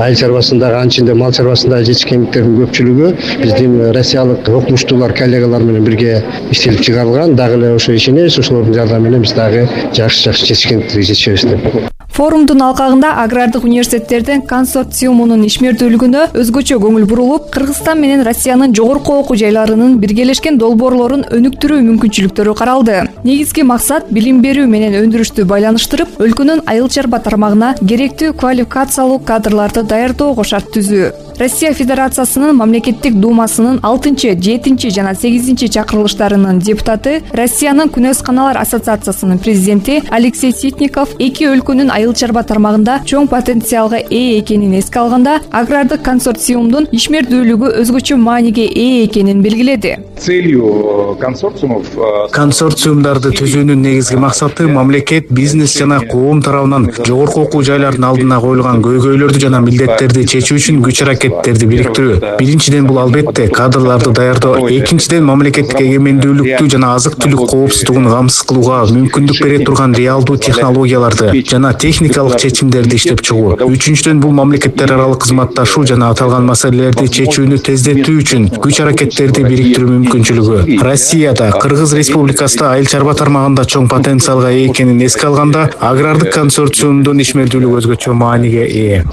айыл чарбасындагы, анын ичинде мал чарбасындагы жетишкендиктердин көпчүлүгү биздин россиялык окумуштуулар, коллегалар менен бирге иштелип чыгарылган. Дагы эле ошо ишенебиз, ошолордун жардамы менен биз дагы жакшы-жакшы жетишкендиктерге жетишебиз деп. Форумдун алкагында агрардык университеттердин консорциумунун ишмердүүлүгүнө өзгөчө көңүл бурулуп, Кыргызстан менен Россиянын жогорку окуу жайларынын биргелешкен долбоорлорун өнүктүрүү мүмкүнчүлүктөрү каралды. Негизги максат билим берүү менен өндүрүштү байланыштырып, өлкөнүн айыл чарба тармагына керектүү квалификациялуу кадрларды даярдоого шарт түзүү. Россия Федерациясынын мамлекеттик думасынын алтынчы, жетинчи жана сегизинчи чакырылыштарынын депутаты, Россиянын Күнөзканалар ассоциациясынын президенти Алексей Ситников эки өлкөнүн айыл чарба тармагында чоң потенциалга ээ экенин эске алганда, агрардык консорциумдун ишмердүүлүгү өзгөчө мааниге ээ экенин белгиледи. Целью консорциумов консорциумдарды түзүүнүн негизги максаты мамлекет, бизнес жана коом тарабынан жогорку окуу жайлардын алдына коюлган көйгөйлөрдү жана милдеттерди чечүү үчүн күч аракеттерди бириктирүү. Биринчиден бул албетте кадрларды даярдоо, экинчиден мамлекеттик эгемендүүлүктү жана азык-түлүк коопсуздугун камсыз кылууга мүмкүндүк бере турган реалдуу технологияларды жана техникалык чечимдерди иштеп чыгуу. Үчүнчүдөн бул мамлекеттер аралык кызматташуу жана аталган маселелерди чечүүнү тездетүү үчүн күч аракеттерди бириктирүү мүмкүнчүлүгү. Россияда, Кыргыз Республикасында айыл чарба тармагында чоң потенциалга ээ экенин эске алганда, агрардык консорциумдун ишмердүүлүгү өзгөчө мааниге ээ.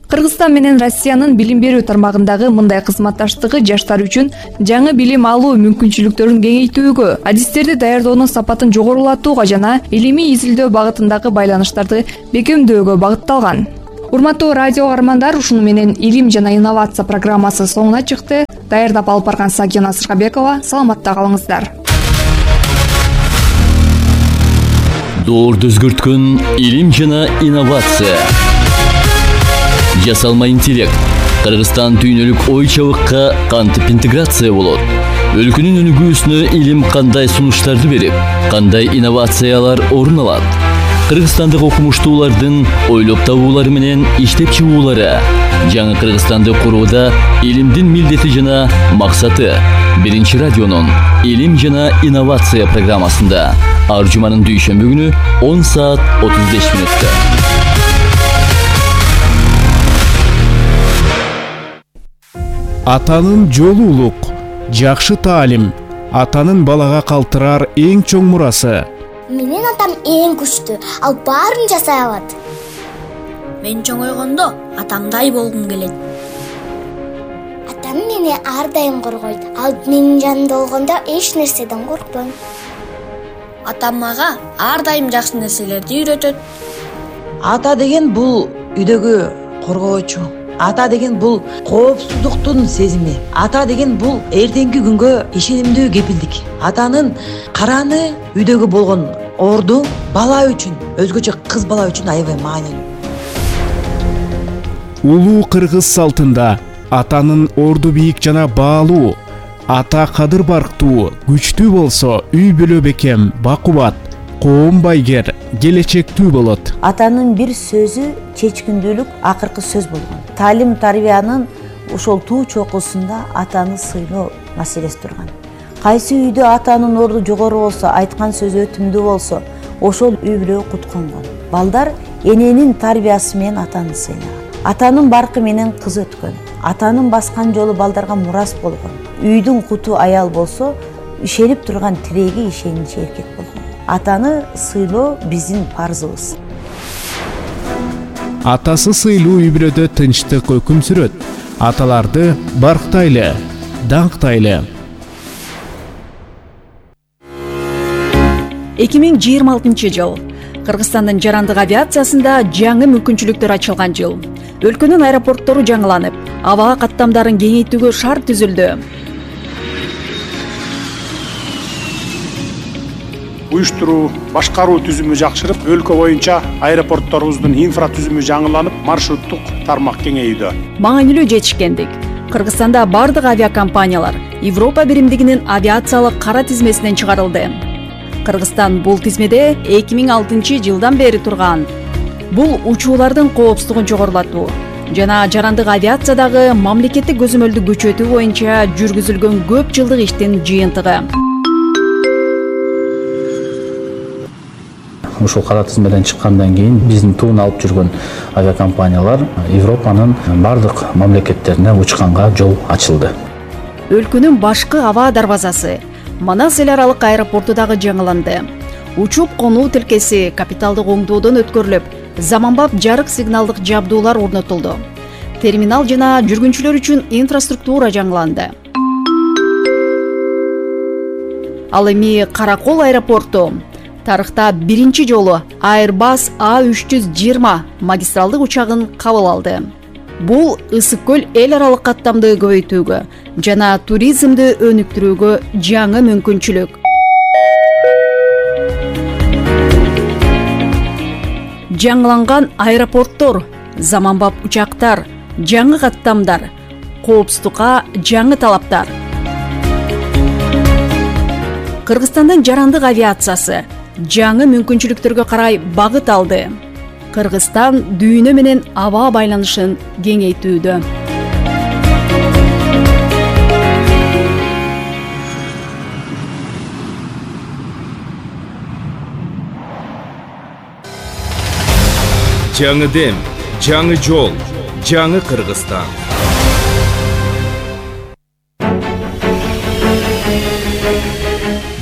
Кыргызстан менен Россиянын билим берүү тармагындагы мындай кызматташтыгы жаштар үчүн жаңы билим алуу мүмкүнчүлүктөрүн кеңейтүүгө, адистерди даярдоонун сапатын жогорулатууга жана илимий изилдөө багытындагы байланыштарды бекемдөөгө багытталган. Урматтуу радио каармандар, ушуну менен илим жана инновация программасы соңуна чыкты. Даярдап алып барган Сагина Сыргабекова, саламатта калыңыздар. Доорду өзгөрткөн илим жана инновация. Жасалма интеллект. Кыргызстан түйнөлүк ой чабыкка кантип интеграция болот? Өлкөнүн өнүгүүсүнө илим кандай сунуштарды берип, кандай инновациялар орун алат? Кыргызстандык окумуштуулардын ойлоп табуулары менен иштеп чыгуулары. Жаңы Кыргызстанды курууда илимдин милдети жана максаты. Биринчи радионун илим жана инновация программасында ар жуманын дүйшөмбү күнү он саат отуз беш мүнөттө. Атанын жолу улук, жакшы таалим, атанын балага калтырар эң чоң мурасы. Менин атам эң күчтүү, ал баарын жасай алат. Мен чоңойгондо атамдай болгум келет. Атам мени ар дайым коргойт. Ал менин жанымда болгондо эч нерседен коркпойм. Атам мага ар дайым жакшы нерселерди үйрөтөт. Ата деген бул үйдөгү коргоочу. Ата деген бул коопсуздуктун сезими. Ата деген бул эртеңки күнгө ишенимдүү кепилдик. Атанын караны үйдөгү болгон орду бала үчүн, өзгөчө кыз бала үчүн аябай маанилүү. Улуу кыргыз салтында атанын орду бийик жана баалуу, ата кадыр барктуу, күчтүү болсо үй бүлө бекем, бакубат, коом байгер, келечектүү болот. Атанын бир сөзү чечкиндүүлүк акыркы сөз болгон. Таалим тарбиянын ошол туу чокусунда атаны сыйлоо маселеси турган. Кайсы үйдө атанын орду жогору болсо, айткан сөзү өтүмдүү болсо, ошол үй бүлө кутконгон. Балдар эненин тарбиясы менен атаны сыйлаган. Атанын баркы менен кыз өткөн. Атанын баскан жолу балдарга мурас болгон. Үйдүн куту аял болсо, ишенип турган тиреги ишеничи эркек болгон. Атаны сыйлоо биздин парзыбыз. Атасы сыйлуу үй бүлөдө тынчтык өкүм сүрөт. Аталарды барктайлы, даңктайлы. эки миң жыйырма алтынчы жыл. Кыргызстандын жарандык авиациясында жаңы мүмкүнчүлүктөр ачылган жыл. Өлкөнүн аэропорттору жаңыланып, абага каттамдарын кеңейтүүгө шарт түзүлдү. Уюштуруу, башкаруу түзүмү жакшырып, өлкө боюнча аэропортторубуздун инфра түзүмү жаңыланып, маршруттук тармак кеңейүүдө. Маанилүү жетишкендик. Кыргызстанда бардык авиакомпаниялар Европа биримдигинин авиациялык кара тизмесинен чыгарылды. Кыргызстан бул тизмеде эки миң алтынчы жылдан бери турган. Бул учуулардын коопсуздугун жогорулатуу жана жарандык авиациядагы мамлекеттик көзөмөлдү күчөтүү боюнча жүргүзүлгөн көп жылдык иштин жыйынтыгы. Ушул кара тизмеден чыккандан кийин биздин туун алып жүргөн авиакомпаниялар Европанын бардык мамлекеттерине учканга жол ачылды. Өлкөнүн башкы аба дарбазасы Манас эл аралык аэропорту дагы жаңыланды. Учуп конуу тилкеси капиталдык оңдоодон өткөрүлүп, заманбап жарык сигналдык жабдуулар орнотулду. Терминал жана жүргүнчүлөр үчүн инфраструктура жаңыланды. Ал эми Каракол аэропорту тарыхта биринчи жолу Airbus А үч жүз жыйырма магистралдык учагын кабыл алды. Бул ысык көл эл аралык каттамды көбөйтүүгө жана туризмди өнүктүрүүгө жаңы мүмкүнчүлүк. Жаңыланган аэропорттор, заманбап учактар, жаңы каттамдар, коопсуздукка жаңы талаптар. Кыргызстандын жарандык авиациясы жаңы мүмкүнчүлүктөргө карай багыт алды. Кыргызстан дүйнө менен аба байланышын кеңейтүүдө. Жаңы дем, жаңы жол, жаңы Кыргызстан.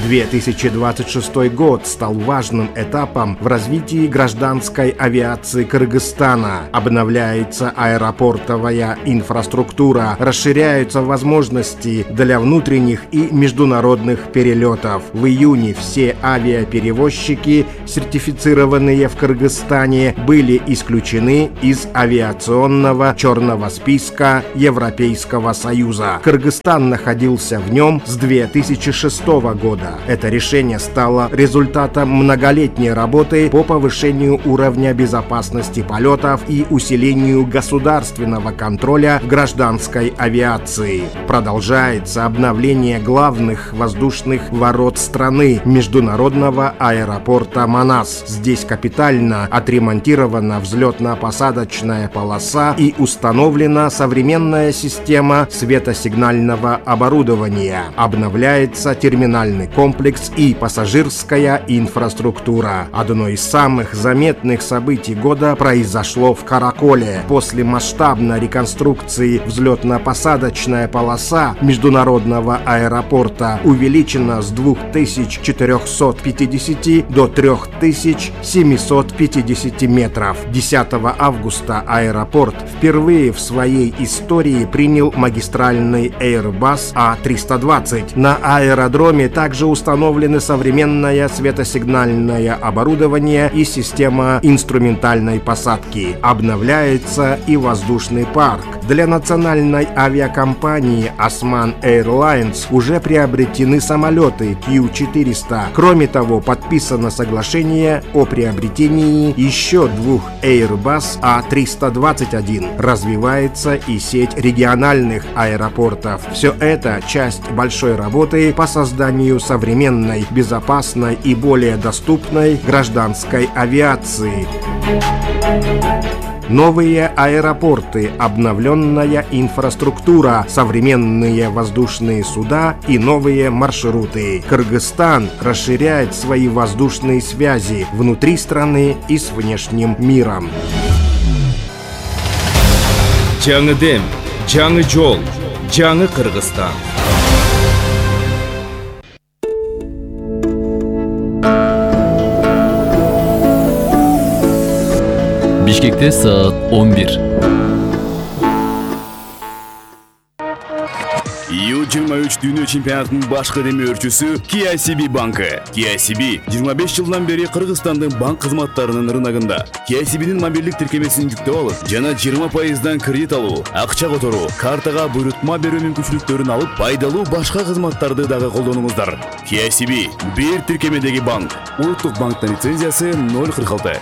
две тысячи двадцать шестой год стал важным этапом в развитии гражданской авиации Кыргызстана. Обновляется аэропортовая инфраструктура, расширяются возможности для внутренних и международных перелетов. В июне все авиаперевозчики, сертифицированные в Кыргызстане, были исключены из авиационного черного списка Европейского Союза. Кыргызстан находился в нем с две тысячи шестого года. Это решение стало результатом многолетней работы по повышению уровня безопасности полетов и усилению государственного контроля в гражданской авиации. Продолжается обновление главных воздушных ворот страны, международного аэропорта Манас. Здесь капитально отремонтирована взлетно-посадочная полоса и установлена современная система светосигнального оборудования. Обновляется терминальный комплекс комплекс и пассажирская инфраструктура. Одно из самых заметных событий года произошло в Караколе. После масштабной реконструкции взлетно-посадочная полоса международного аэропорта увеличена с двух тысяч четырёхсот пятидесяти до трёх тысяч семисот пятидесяти метров. десятого августа аэропорт впервые в своей истории принял магистральный Airbus А триста двадцать. На аэродроме также установлены современное светосигнальное оборудование и система инструментальной посадки. Обновляется и воздушный парк. Для национальной авиакомпании Osman Airlines уже приобретены самолеты Q четыреста. Кроме того, подписано соглашение о приобретении еще двух Airbus А триста двадцать один. Развивается и сеть региональных аэропортов. Все это часть большой работы по созданию современной, безопасной и более доступной гражданской авиации. Новые аэропорты, обновленная инфраструктура, современные воздушные суда и новые маршруты. Кыргызстан расширяет свои воздушные связи внутри страны и с внешним миром. Жаңы дем, жаңы жол, жаңы Кыргызстан. Бишкекте саат он бир. ю жыйырма үч дүйнө чемпионатынын башкы демөөрчүсү K I C B банкы. K I C B жыйырма беш жылдан бери Кыргызстандын банк кызматтарынын рыногунда. K I C B'нин мобилдик тиркемесин жүктөп алып, жана жыйырма пайыздан кредит алуу, акча которуу, картага буйрутма берүү мүмкүнчүлүктөрүн алып, пайдалуу башка кызматтарды дагы колдонуңуздар. K I C B бир тиркемедеги банк. Улуттук банктын лицензиясы ноль кырк алты.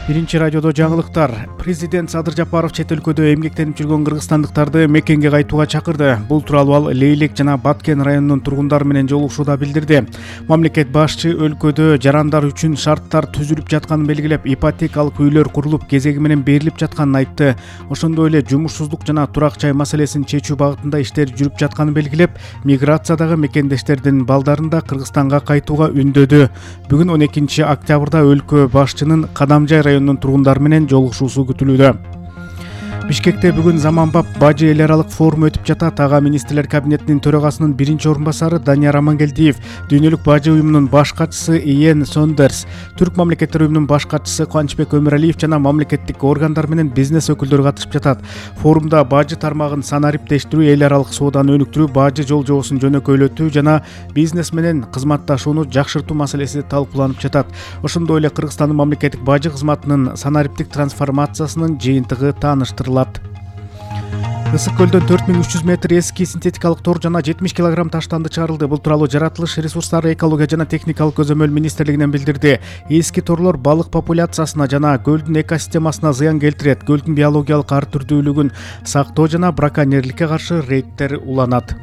Биринчи радиодо жаңылыктар. Президент Садыр Жапаров чет өлкөдө эмгектенип жүргөн кыргызстандыктарды мекенге кайтууга чакырды. Бул тууралуу ал Лейлек жана Баткен районунун тургундары менен жолугушууда билдирди. Мамлекет башчы өлкөдө жарандар үчүн шарттар түзүлүп жатканын белгилеп, ипотекалык үйлөр курулуп, кезеги менен берилип жатканын айтты. Ошондой эле жумушсуздук жана турак жай маселесин чечүү багытында иштер жүрүп жатканын белгилеп, миграциядагы мекендештердин балдарын да Кыргызстанга кайтууга үндөдү. Бүгүн он экинчи октябрда өлкө башчынын Кадамжай районунун тургундары менен жолугушуусу күтүлүүдө. Бишкекте бүгүн заманбап бажы эл аралык форуму өтүп жатат. Ага министрлер кабинетинин төрагасынын биринчи орун басары Данияр Амангелдиев, Дүйнөлүк бажы уюмунун баш катчысы Иен Сондерс, Түрк мамлекеттер уюмунун баш катчысы Кубанычбек Өмүралиев жана мамлекеттик органдар менен бизнес өкүлдөрү катышып жатат. Форумда бажы тармагын санариптештирүү, эл аралык сооданы өнүктүрүү, бажы жол жобосун жөнөкөйлөтүү жана бизнес менен кызматташууну жакшыртуу маселеси талкууланып жатат. Ошондой эле Кыргызстандын мамлекеттик бажы кызматынын санариптик трансформациясынын жыйынтыгы тааныштырылат. Ысык көлдөн төрт миң үч жүз метр эски синтетикалык тор жана жетимиш килограмм таштанды чыгарылды. Бул тууралуу Жаратылыш ресурстары, экология жана техникалык көзөмөл министрлигинен билдирди. Эски торлор балык популяциясына жана көлдүн экосистемасына зыян келтирет. Көлдүн биологиялык ар түрдүүлүгүн сактоо жана браконьерликке каршы рейдтер уланат.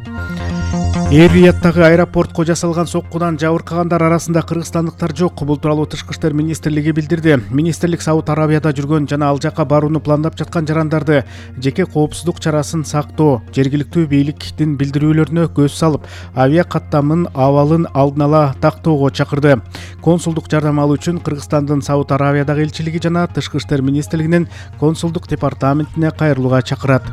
Эр-Рияттагы аэропортко жасалган соккудан жабыркагандар арасында кыргызстандыктар жок. Бул тууралуу Тышкы иштер министрлиги билдирди. Министрлик Сауд Арабияда жүргөн жана ал жака барууну пландап жаткан жарандарды жеке коопсуздук чарасын сактоо, жергиликтүү бийликтин билдирүүлөрүнө көз салып, авиа каттамын абалын алдын ала тактоого чакырды. Консулдук жардам алуу үчүн Кыргызстандын Сауд Арабиядагы элчилиги жана Тышкы иштер министрлигинин консулдук департаментине кайрылууга чакырат.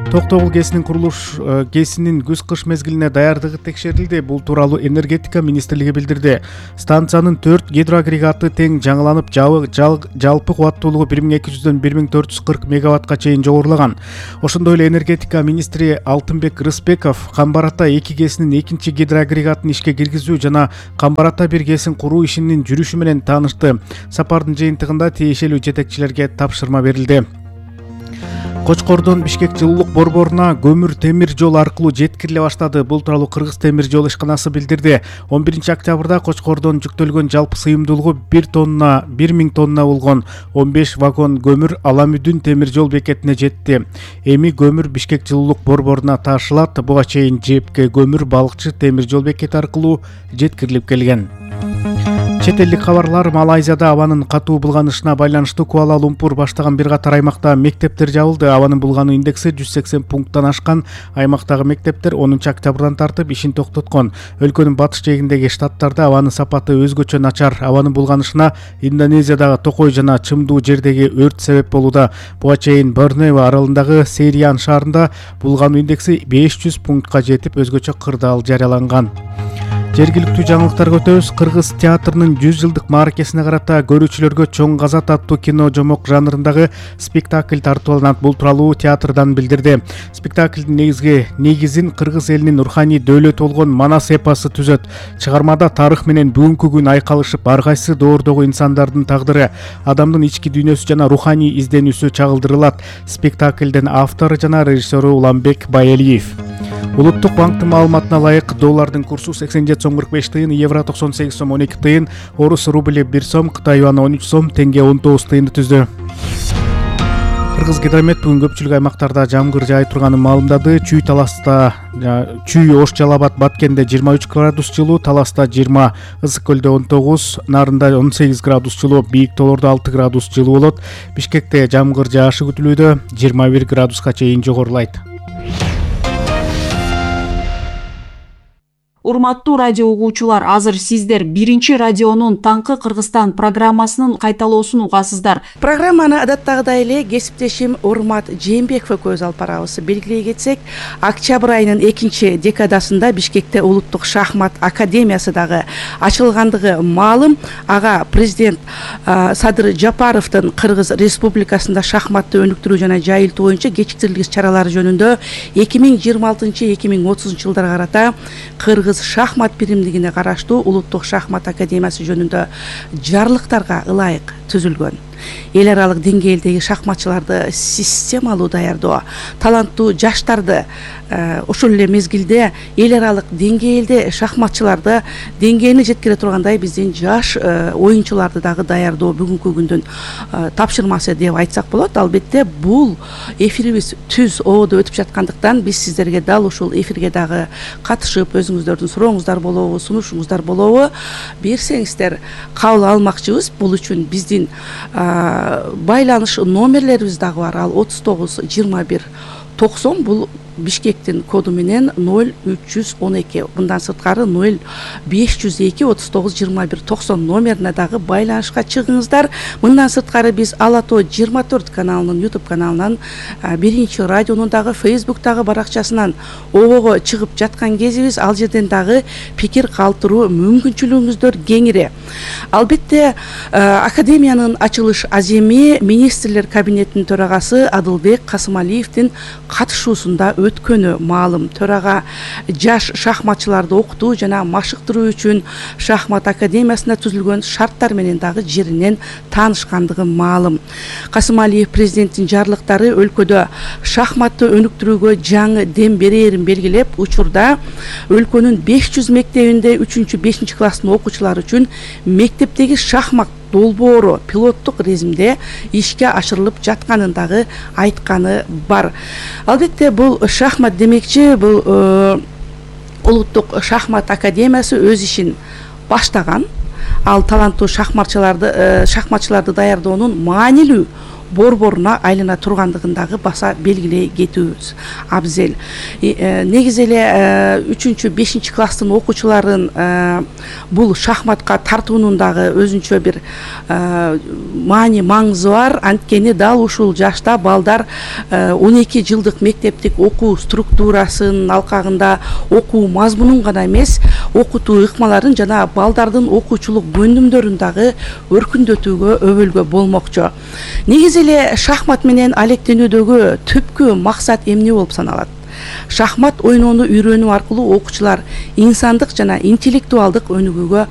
Токтогул ГЭСинин курулуш ГЭСинин күз-кыш мезгилине даярдыгы текшерилди. Бул тууралуу энергетика министрлиги билдирди. Станциянын төрт гидроагрегаты тең жаңыланып, жалпы кубаттуулугу бир миң эки жүздөн бир миң төрт жүз кырк мегаваттка чейин жогорулаган. Ошондой эле энергетика министри Алтынбек Рыспеков Камбар Ата эки ГЭСинин экинчи гидроагрегатын ишке киргизүү жана Камбар Ата бир ГЭСин куруу ишинин жүрүшү менен таанышты. Сапардын жыйынтыгында тиешелүү жетекчилерге тапшырма берилди. Кочкордон Бишкек жылуулук борборуна көмүр темир жол аркылуу жеткириле баштады. Бул тууралуу Кыргыз темир жол ишканасы билдирди. он биринчи октябрда Кочкордон жүктөлгөн жалпы сыйымдуулугу бир тонна, бир миң тонна болгон он беш вагон көмүр Аламүдүн темир жол бекетине жетти. Эми көмүр Бишкек жылуулук борборуна ташылат. Буга чейин жепке көмүр Балыкчы темир жол бекети аркылуу жеткирилип келген. Чет элдик кабарлар. Малайзияда абанын катуу булганышына байланыштуу Куала-Лумпур баштаган бир катар аймакта мектептер жабылды. Абанын булгануу индекси жүз сексен пункттан ашкан аймактагы мектептер онунчу октябрдан тартып ишин токтоткон. Өлкөнүн батыш жээгиндеги штаттарда абанын сапаты өзгөчө начар. Абанын булганышына Индонезиядагы Токой жана Чымдуу жердеги өрт себеп болууда. Буга чейин Борнео аралындагы Сериан шаарында булгануу индекси беш жүз пунктка жетип, өзгөчө кырдаал жарыяланган. Жергиликтүү жаңылыктарга өтөбүз. Кыргыз театрынын жүз жылдык мааракесине карата көрүүчүлөргө Чоң Казат аттуу кино жомок жанрындагы спектакль тартууланат. Бул тууралуу театрдан билдирди. Спектаклдин негизги негизин кыргыз элинин руханий дөөлөтү болгон Манас эпосу түзөт. Чыгармада тарых менен бүгүнкү күн айкалышып, ар кайсы доордогу инсандардын тагдыры, адамдын ички дүйнөсү жана руханий изденүүсү чагылдырылат. Спектаклдин автору жана режиссеру Уламбек Байэлиев. Улуттук банктын маалыматына ылайык доллардын курсу сексен жети сом кырк беш тыйын, евро токсон сегиз сом он эки тыйын, орус рубли бир сом, Кытай юаны он үч сом, тенге он тогуз тыйынды түздү. Кыргыз гидромет бүгүн көпчүлүк аймактарда жамгыр жаай турганын маалымдады. Чүй Таласта, Чүй Ош Жалал Абад Баткенде жыйырма үч градус жылуу, Таласта жыйырма, Ысык көлдө он тогуз, Нарында он сегиз градус жылуу, Бийик тоолордо алты градус жылуу болот. Бишкекте жамгыр жаашы күтүлүүдө, жыйырма бир градуска чейин жогорулайт. Урматтуу радио угуучулар, азыр сиздер биринчи радионун Таңкы Кыргызстан программасынын кайталоосун угасыздар. Программаны адаттагыдай эле кесиптешим Урмат Жээнбеков көз алып барабыз. Белгилей кетсек, октябрь айынын экинчи декадасында Бишкекте улуттук шахмат академиясы дагы ачылгандыгы маалым. Ага президент Садыр Жапаровдун Кыргыз Республикасында шахматты өнүктүрүү жана жайылтуу боюнча кечиктирилгис чаралары жөнүндө эки миң жыйырма алтынчы эки миң отузунчу жылдарга карата Кыргыз шахмат биримдигине караштуу улуттук шахмат академиясы жөнүндө жарлыктарга ылайык түзүлгөн. Эл аралык деңгээлдеги шахматчыларды системалуу даярдоо, таланттуу жаштарды ошол эле мезгилде эл аралык деңгээлде шахматчыларды деңгээлине жеткире тургандай биздин жаш оюнчуларды дагы даярдоо бүгүнкү күндүн тапшырмасы деп айтсак болот. Албетте бул эфирибиз түз ободо өтүп жаткандыктан биз сиздерге дал ушул эфирге дагы катышып, өзүңүздөрдүн сурооңуздар болобу, сунушуңуздар болобу берсеңиздер кабыл алмакчыбыз. Бул үчүн биздин байланыш номерлерибиз дагы бар. Ал отуз тогуз жыйырма бир токсон. Бул Бишкектин коду менен ноль үч жүз он эки, мындан сырткары ноль беш жүз эки отуз тогуз жыйырма бир токсон номерине дагы байланышка чыгыңыздар. Мындан сырткары биз Ала тоо жыйырма төрт каналынын YouTube каналынан, биринчи радионун дагы Facebook'тагы баракчасынан обого чыгып жаткан кезибиз. Ал жерден дагы пикир калтыруу мүмкүнчүлүгүңүздөр кеңири. Албетте академиянын ачылыш аземи министрлер кабинетинин төрагасы Адылбек Касымалиевдин катышуусунда өткөнү маалым. Төрага жаш шахматчыларды окутуу жана машыктыруу үчүн шахмат академиясында түзүлгөн шарттар менен дагы жеринен таанышкандыгы маалым. Касымалиев президенттин жарлыктары өлкөдө шахматты өнүктүрүүгө жаңы дем берээрин белгилеп, учурда өлкөнүн беш жүз мектебинде үчүнчү бешинчи класстын окуучулары үчүн мектептеги шахмат долбоору пилоттук режимде ишке ашырылып жатканын дагы айтканы бар. Албетте бул шахмат демекчи, бул улуттук шахмат академиясы өз ишин баштаган. Ал таланттуу шахматчыларды шахматчыларды даярдоонун маанилүү борборуна айлана тургандыгын дагы баса белгилей кетүүбүз абзел. Негизи эле үчүнчү бешинчи класстын окуучуларын бул шахматка тартуунун дагы өзүнчө бир маани маңызы бар. Анткени дал ушул жашта балдар он эки жылдык мектептик окуу структурасын алкагында окуу мазмунун гана эмес, окутуу ыкмаларын жана балдардын окуучулук көндүмдөрүн дагы өркүндөтүүгө өбөлгө болмокчу. Негизи эле шахмат менен алектенүүдөгү түпкү максат эмне болуп саналат? Шахмат ойноону үйрөнүү аркылуу окуучулар инсандык жана интеллектуалдык өнүгүүгө